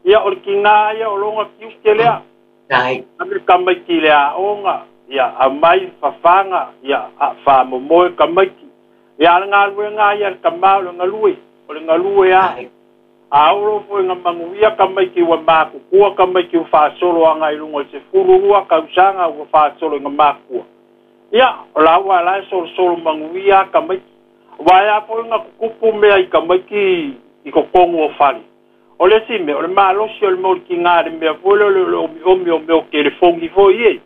Ia, o le tinā ia o lona tiute lea. Ave tamaiti i le aoga, ia, aumai fafaga, ia, faamomoe tamaiti. Ia, a o le galuega lava ia a le tama o le galue, o le galue lava. A oo loa foi ina manuia tamaiti ua matutua tamaiti ua faasolo agai i luga i le 12 tausaga ua faasolo ina matua, ia, o laua la e solosolo manuia lava tamaiti. Aua e a foi ona tutupu mea i tamaiti i totonu o fale, O le isi mea, o le malosi o le mau tinā i le mea foi lea o le omiomi o mea o telefoni foi ia,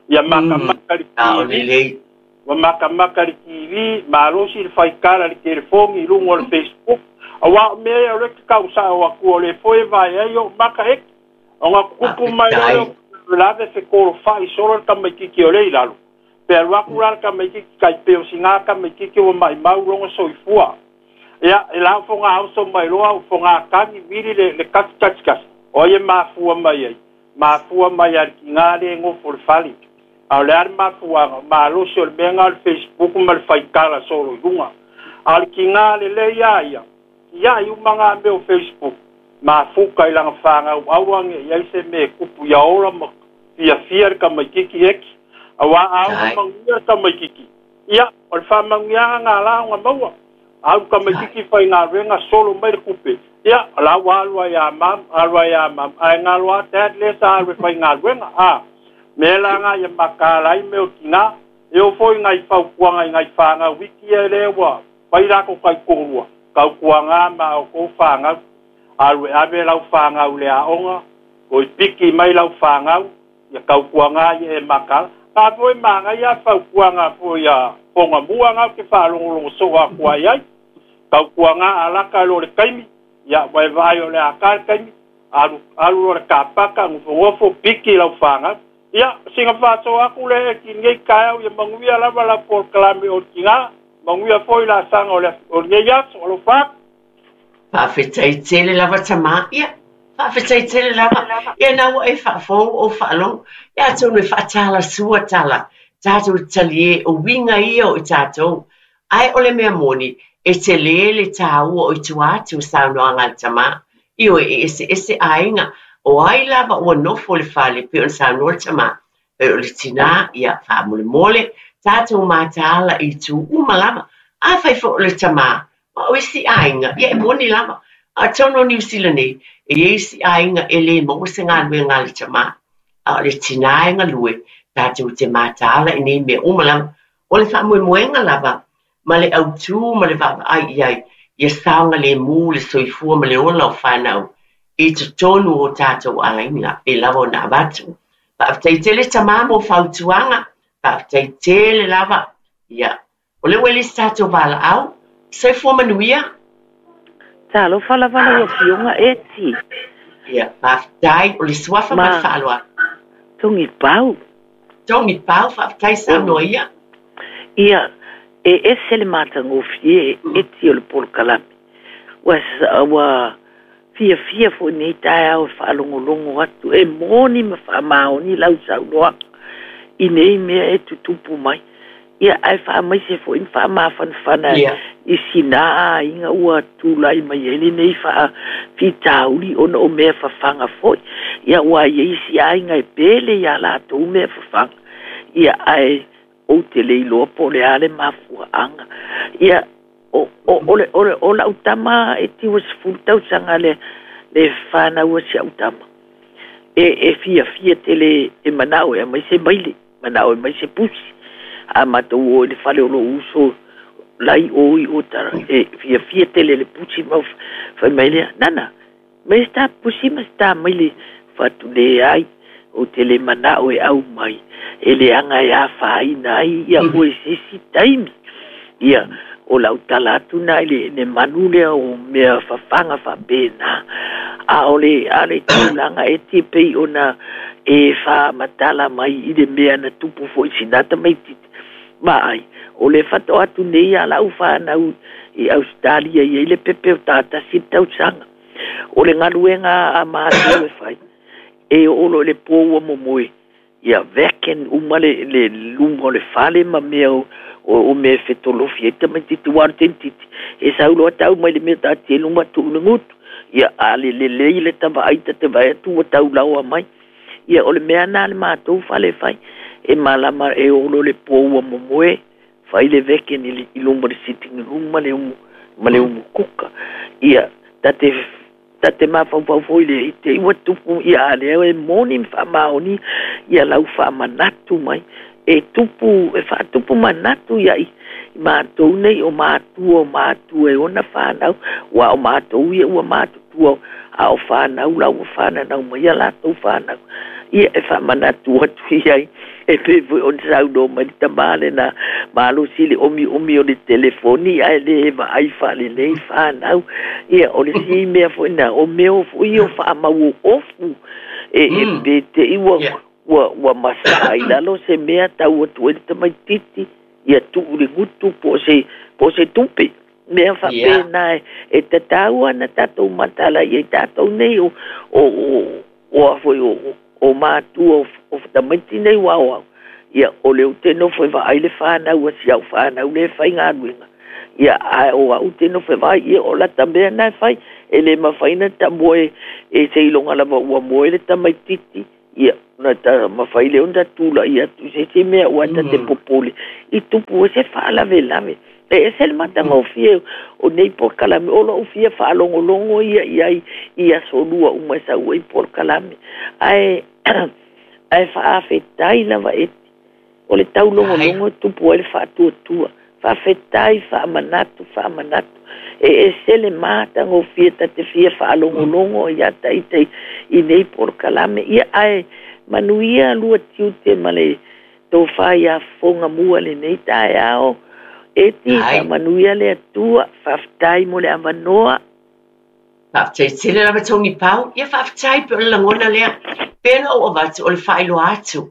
ia matamata i le TV, ua matamata i le TV, malosi le faitala i le telefoni i luga o le Facebook, aua o mea ia o lea e te tau sao atu o lea foi e vae ai ou maka eki. Ona tupu mai loa lea o faalavelave fekolofai solo le tamaitiiti o lea i lalo. Pe alu atu la le tamaitiiti tai pei o sina tamaitiiti ua maimau lona soifua. Ia, e la o fogaoso mai loa o fogatagi vili le, le kasi kasi kasi. O ai e mafua mai ai? Mafua mai lava i le tiga lea e nofo i le fale. A o le a le mafuaaga? Malosi o le mea lena o le Facebook ma le faitala solo i luga. A o le tiga lelei a ia, tia'i uma gā mea o Facebook, mafuka i laga fagau aua ne'i i ai se mea e tupu ia ola ma fiafia le tamaititi eki. Auā a ono manuia le tamaititi, ia, o le faamanuiaga gā la ona maua. Alu le tamaititi faigaluega solo mai le tupe, ia, o la ua alu ai ia mum, alu ai ia mum, ae galo lava dad lea sa alu e faigaluega, a. Mea la gā ia mataala ai mea o tinā. E oo foi i nai fautuaga i nai fanau iti ia lea ua fai latou taitoalua, tautuaga ma a outou fanau. Alu e ave lau fanau i le aoga, toe piki mai lau fanau, ia tautuaga ia e mataala. Na foi manaia fautuaga foi a Fogamua na ou te faalogologo soo atu ai ai. Tautuaga a lata loa le taimi, ia ua e vaai o le a ta le taimi, alu alu loa i le kapaka, nofonofo, piki lau fanau. Ia, sina faasoa atu lea e lenei taeao ia manuia lava lau polokalame o le tina, manuia foi laasaga o le o lenei aso. Alofa atu. Faafetai tele lava tamā. Ia, faafetai tele lava. Ia na ua e faafofoga ou faalogo. Ia atonu e faatalasua tala, tatou talie o uiga ia o i tatou. Ae o le mea moni, e tele le tāua o i tua atu o saunoaga a le tamā. Ioe, e eseese aiga, o ai lava ua nofo i le fale, pei ona saunoa le tamā, pei o le tinā, ia, faamolemole, tatou mataala i itu uma lava. Afai foi o le tamā, ma o isi aiga, ia e moni lava. A o totonu o Niu Sila nei, e i ai isi aiga e le maua se galuega a le tamā, a o le tinā e galue, tatou te mataala i nei mea uma lava. O le faamoemoega lava ma le autū ma le vaavaai i ai, ia saogalemu le soifua ma le ola o fanau i totonu o tatou aiga e lava ona avatu. Faafetai tele tamā mo fautuaga, faafetai tele lava. Ia, o lea ua i le isi tatou valaau. Soifua manuia. Talofa lava lau Afioga Eti. Ia, faafetai, o le suafa ma le faaaloalo. Togipau. Togipau, faafetai saunoa ia. Ia, e ese le matagofie Eti o le polokalame. Ua, ua fiafia foi i lenei taeao e faalogologo atu, e moni ma faamaoni lau saunoaga i nei mea e tutupu mai. Ia, ae faamaise foi ma faamafanafana i sina aiga ua tulai mai ai lenei faafitauli ona o mea fafaga foi. Ia, aua e i ai isi aiga e pele iā latou mea fafaga, ia, ae ou te le iloa po o le a le mafuaaga. Ia, o, o, o, le, o, le, o lau tama e tiu 10 tausaga le, le fanau a si au tama. E, e fiafia tele e manao e aumai se maile. Manao e aumai se pusi. A matou o i le fale o lou uso la i o i Otara, e fiafia tele le pusi ma fai mai lea, Nana, aumai se ta pusi ma se ta maile. Fai atu, Leai, ou te le manao e aumai, e leaga e afaina ai ia oe i se isi taimi. Ia, o lau tala atu na i le, le manu lea o mea fafaga faapena. A o le, a o le tulaga e te pei ona e faamatala mai i le mea na tupu foi i sina tamaititi. Vaai, o le faatoa atu nei a lau fanau i Ausetalia i ai le pepe o tatasi le tausaga. O le galuega a matou e fai, e oo loa i le po ua momoe, ia vacuum uma le, le luma o le fale ma mea o, o, o mea e fetolofi ai tamaititi aua o le tamaititi e sau loa tau mai le mea taatia i luma tuu i le gutu. Ia a le lelei le ta vaai ta te vaai atu ua tau laoa mai. Ia o le mea na a le matou fale e fai, e malama e oo loa le po ua momoe, fai le vacuum i, i luma o le sitting room ma le umu, ma le umu kuka. Ia ta te Ta te mafaufau foi le i te i ua tupu ia a lea e moni ma faamaoni ia lau faamanatu mai e tupu e faatupu manatu ia i matou nei o matua o matua e ona fanau ua o matou ia ua matutua a o fanau la ua fananau mai ia latou fanau ia e faamanatu atu i ai E pei foi ona saunoa mai le tama lena malosi i le omiomi o le telefoni ae le vaai faalelei fanau. Ia, o le isi mea foi lena, o mea foi ia o faamau ofu e, e pe te i ua, ua, ua masaa i lalo se mea tau atu ai le tamaititi, ia tuu i le gutu po o se, po o se tupe. Mea faapena e, e tatau ana tatou mataala i ai tatou nei o, o, o, o a foi o, o matua o tamaiti nei ua aoao, ia, o lea ou te nofo e vaai le fanau a si au fanau lea e faigaluega, Ia, ae o au te nofo e vaai, ia o lata mea na e fai, e le mafai na ta moe e seiloga lava ua moe le tamaititi, ia, ona ta mafai lea ona tula'i atu i se isi mea aua ta te popole i tupu ai se faalavelave. E ese le matagofie o nei polokalame, o lo'u fia faalogologo ia i ai i aso lua uma e sau ai polokalame, ae ae faafetai lava e O le taulogologo e tupu ai le faatuatua. Faafetai, faamanatu, faamanatu. E ese le matagofie ta te fia faalogologo ia ta ita i nei polokalame. Ia ae manuia lua tiute ma le tofa ia Fofoga Mua lenei taeao. Eti, faamanuia le Atua. Faafetai mo le avanoa. Faafetai tele lava Tony Pau. Ia faafetai pe o le lagona lea. Pe na ou avatu o le faailoa atu.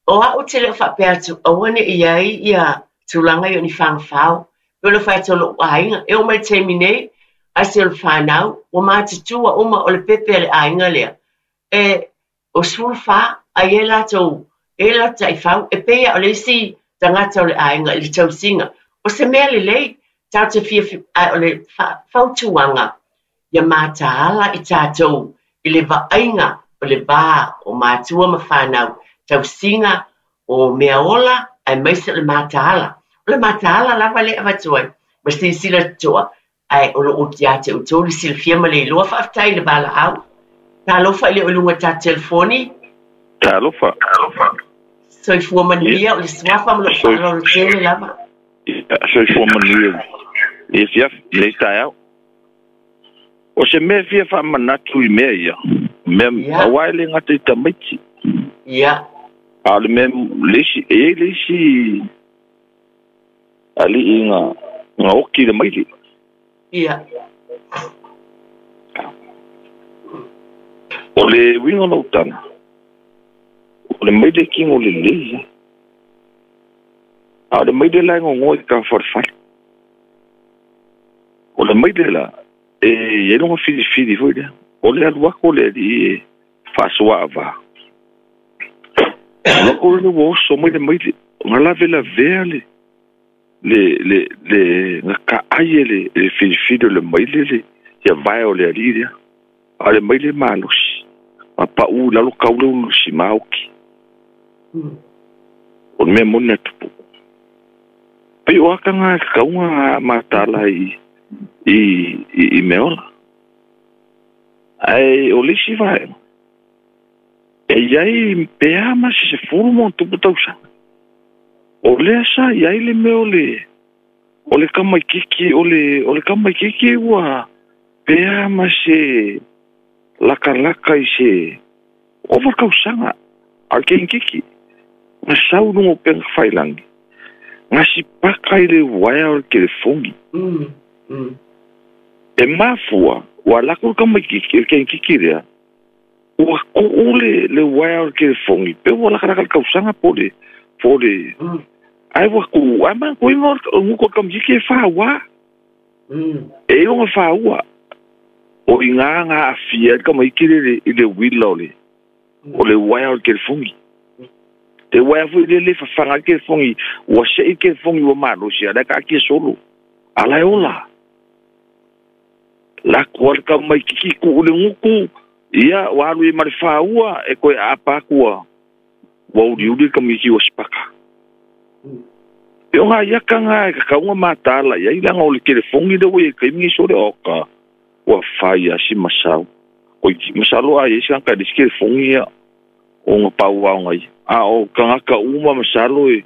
O au ou te le o faapea atu aua ne i i ai ia tulaga ia o ni fagafao. Pei ona fai atu o lou aiga, e oo mai i le taimi nei, ae se o le fanau, ua matutua uma o le pepe a le aiga lea. E, o 14, ae i ai latou, e i ai latou taifau, e pei lava o le isi tagata o le aiga i le tausiga. O se mea lelei, tatou te fia, ae o le fautuaga, ia mataala i tatou i le vaaiga o le va o matua ma fanau, tausiga o mea ola aemaise o le mataala. O le mataala lava lea e avatu ai ma silasila totoa, ae o lo o ia te outou le silafia ma le iloa. Faafetai i le valaau. Talofa i le o i luga o tatou telefoni. Talofa. Soifua manuia, o le suafa ma lou faaaloalo tele lava. Soifua manuia i le afiafi, i lenei taeao. O se mea e fia faamanatu i mea ia, mea, yeah. aua e le gata i tamaiti. Yeah. A o le mea, le isi, e i ai le isi alii na, na oki i le maile. Yeah. O le uiga o lau tala, o le maile kino lelei ia. A o le maile la e gogoa i ka falefale. O le maile la, e i ai lona filifili foi lea. O le alu atu o le alii e faasoaavā, alu atu lea ua oso mai le maile, na lavelavea le, le, le, le, na taai e le, le filifili o le maile le, ia vae o le alii lea. A o le maile malosi, ma pau i lalo tau le ulu sima oki. O le mea moni na tupu. Pei o aka ngā tatau ngā mataala i, i, i, i mea ola. Ae o le isi vaega, e i ai pe a ma se 10 ma ona tupu tausaga. O lea sa i ai le mea o le, o le tamaitiiti, o le, o le tamaitiiti ua pe a ma se lakalaka i se ova tausaga, a o le keikiki, na sau i luga o upega tafailagi, na sipaka i le uaea o le telefoni. E mafua, ua alu atu le tamaitiiti, le keikiki lea, ua tuu le, le uaea o le telefoni, pe ua lakalaka i le tausaga po o le, po o le, ae ua tuu, ae manatua o le gutu o le tamaitiiti e fāuā. E i lona fāua, o i ina na aafia ai le tamaiti lea i le uila o le, o le uaea o le telefoni. Le uaea foi lea le fafaga ai le telefoni, ua sei le telefoni ua malosi, a o la e taatia solo, a o la e ola. Lako lava le tamaititi tuu i le gutu, ia, ua alu i ai ma le fāua, e toe aapa atu ua, ua uliuli le tamaiti ua sipaka. E o nai aka na e tatau ona mataala i ai, leaga o le telefoni lea ua i ai i le taimi lenei sole, oka, ua fai lava si masau. Koe, masalo a i ai se tagata e leai se telefoni ia, ona pau lava ona ia. A o tagata uma masalo e,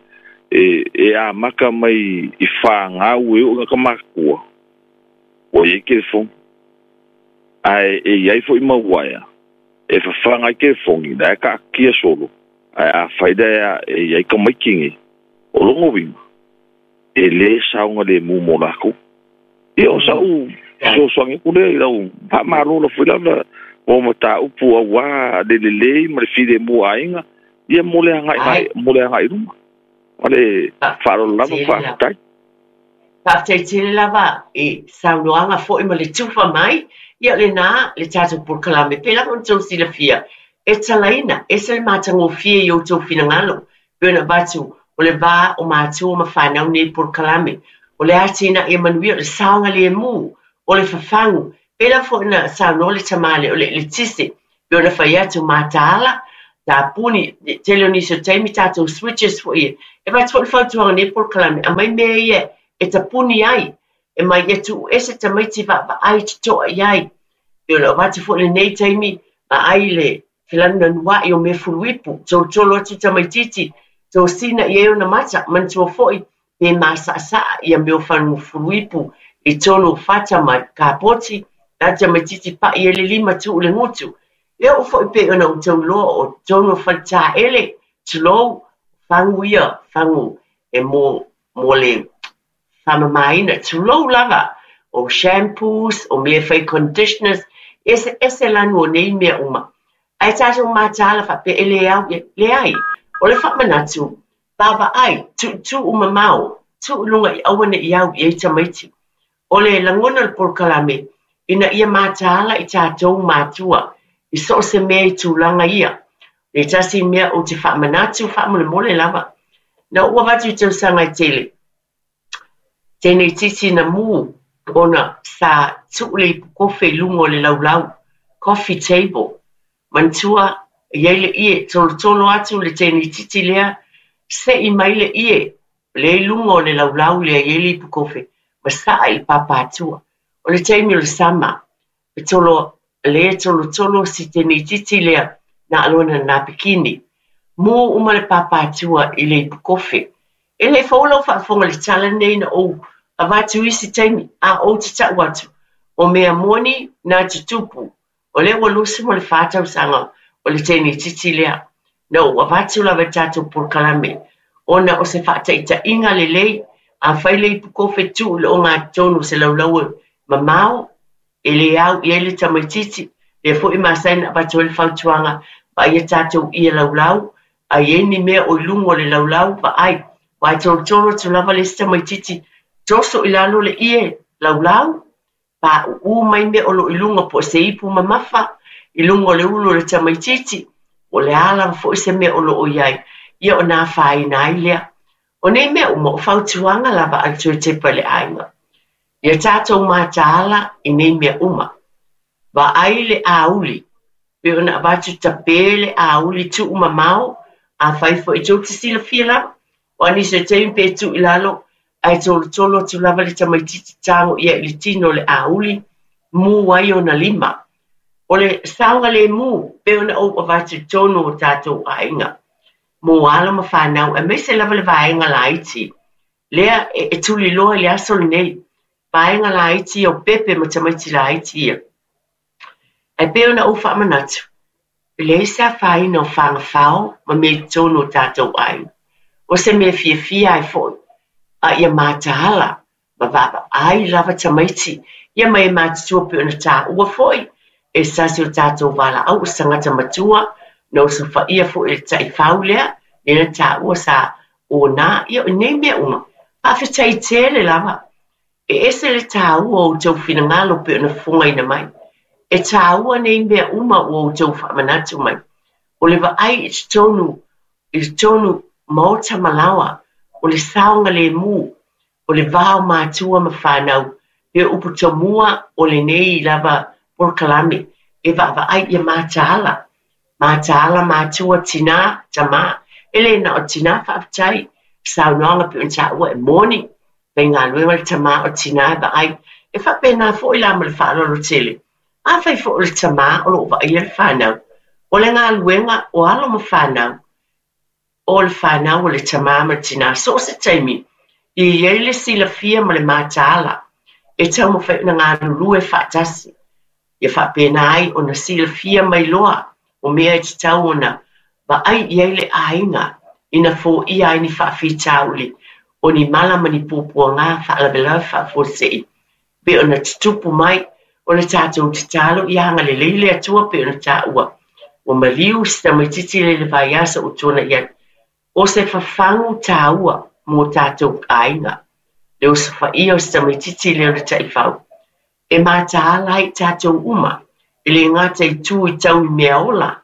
e, e amata mai i fanau e oo i tagata matutua, ua i ai telefoni. Ae e i ai foi mau uaea e fafaga ai telefoni, la e taatia solo, ae afai la e i ai tamaiti nei, o lona uiga, e lē saogalemu mo lakou. Ia, o sa'u fesoasoani atu lea i lau faamalo foi lava mo mataupu auā le lelei ma le filemu o aiga, ia mo le agai mo le agai i luma. Ma le faaaloalo lava, faafetai. Faafetai tele lava i saunoaga foi ma le tufa mai, ia o lena le tatou polokalame. Pei lava ona outou silafia, e talaina, ese le matagofie i outou finagalo, pei ona avatu o le va o matua ma fanau nei polokalame. O le atinae manuia, o le saogalemu, o le fafagu. Pei lava foi ona saunoa le tama lea o le eletise, pei ona fai atu, mataala, tapuni, tele o nisi o taimi tatou switches foi ia. E avatu foi le fautuaga i lenei polokalame, aumai mea ia e tapuni ai, e mai ia tuuese tamaiti vaavaai totoa i ai. Pei ona avatu foi lenei taimi, vaai le felanunanuai o mea fuluipu, tolotolo atu tamaititi, tosina i ai ona mata, manatua foi pe masaʻasaʻa ia mea o fuluipu i totonu o fata ma kapoti, la tamaititi paʻi ai le lima tuu le gutu. E oo foi pei ona outou iloa o totonu o faletaele, tulou, fagu ia, fagu e mo, mo le faamamaina, tulou lava, o shampoos, o mea e fai conditioners, eseese lanu o nei mea uma. Ae tatou mataala faapea e le au i ai. Leai, o le faamanatu, vaavaai, tuutuu mamao, tuu i luga i aua ne i au i ai tamaiti. O le lagona o le polokalame, ina ia mataala i tatou matua i so o se mea i tulaga ia. Le tasi mea ou te faamanatu faamolemole lava. Na ou avatu i tausaga e tele, teineitiiti na mu ona sa tuu le ipukofe i luga o le laulau, coffee table. Manatua, e i ai le ie, tolotolo atu le teineitiiti lea, sei mai le ie, lea i luga o le laulau lea e i ai le ipukofe, ma saa i le papatua. O le taimi o le sama, e tolo, lea e tolotolo si teineitiiti lea na lona napikini. Mu uma le papatua i le ipukofe. E le fou lau faafofoga i le tala lenei na ou avatu isi taimi, a ou te tau atu, o mea moni na tutupu. O lea ua 24 tausaga o le teineitiiti lea. Na ou avatu lava i tatou polokalame, ona o se faataitaiga lelei, afai le ipukofe tuu i le ogatotonu o se laulau e mamao, e le au i ai le tamaitiiti, lea foi e masani ona avatu ai le fautuaga, vaaia tatou ie laulau, a i ai ni mea o i luga o le laulau, vaai, aua e tolotolo atu lava le isi tamaitiiti, toso i lalo le ie laulau, paʻuʻu mai mea o lo o i luga po o se ipu mamafa i luga o le ulu o le tamaitiiti, po o le a lava foi se mea o lo o i ai, ia ona afaina ai lea. O nei mea uma, o fautuaga lava a le Toetepa i le aiga. Ia tatou mataala i nei mea uma. Vaai le auli, pei ona avatu tape le auli tuu mamao, afai foi tou te silafia lava, o a nisi o taimi pe tuu i lalo, ae tolotolo atu lava le tamaitiiti tago ia i le tino o le auli, mu ai ona lima. O le saogalemu, pei ona ou avatu i totonu o tatou aiga, mo alo ma fanau, aemaise lava le vaega laiti, lea e tuliloa i le aso lenei, vaega laiti ia o pepe ma tamaiti laiti ia. Ae pei ona ou faamanatu, e leai se afaina o fagafao ma mea i totonu o tatou aiga. O se mea fiafia ai foi, a ia mataala ma vaavaai lava tamaiti ia ma e matutua pei ona taua foi e se tasi o tatou valaau o se tagata matua na osofaia foi e le taifau lea, lea na taua sa ona ia o nei mea uma. Faafetai tele lava. E ese le taua o outou finagalo pei ona fofogaina mai. E taua nei mea uma ua outou faamanatu mai. O le vaai i totonu, i totonu maota ma laoa, o le saogalemu, o le va o matua ma fanau, pe upu tomua o lenei lava polokalame, e vaavaai ia mataala. Mataala matua, tinā, tamā. E le na o tinā faafetai, saunoaga pei ona taua e moni, faigaluega le tamā o le tinā e vaai. E faapena foi la ma le faaaloalo tele. Afai foi o le tamā o lo o vaaia le fanau, o le galuega o alo ma fanau, o le fanau o le tamā ma le tinā, so o se taimi, e i ai le silafia ma le mataala e taumafai ona galulue faatasi. Ia faapena ai ona silafia mai loa o mea e tatau ona vaai i ai le aiga ina foia ai ni faafitauli o ni mala ma ni puapuaga faalavelave faafuasei pei ona tutupu mai. O le tatou tatalo ia agalelei le Atua pei ona taua ua maliu si tamaitiiti lea i le vaiaso ua tuanai atu. O se fafagu taua mo tatou aiga le osofaia o si tamaitiiti lea o le taifau. E mataala ai tatou uma, e le gata i tu i tau i mea ola,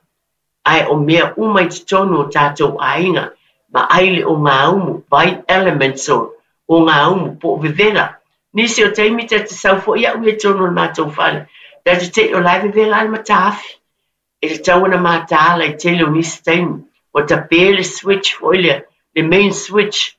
ae o mea uma i totonu o tatou aiga, vaai le ogaumu, vai elements o Ogaumu po o vevela. Nisi o taimi ta te sau foi a'u ia i totonu o le matou fale, ta te te'i o la e vevela lava le mataafi. E tatau ona mataala i tele o nisi taimi, ua tape le switch foi lea, le main switch.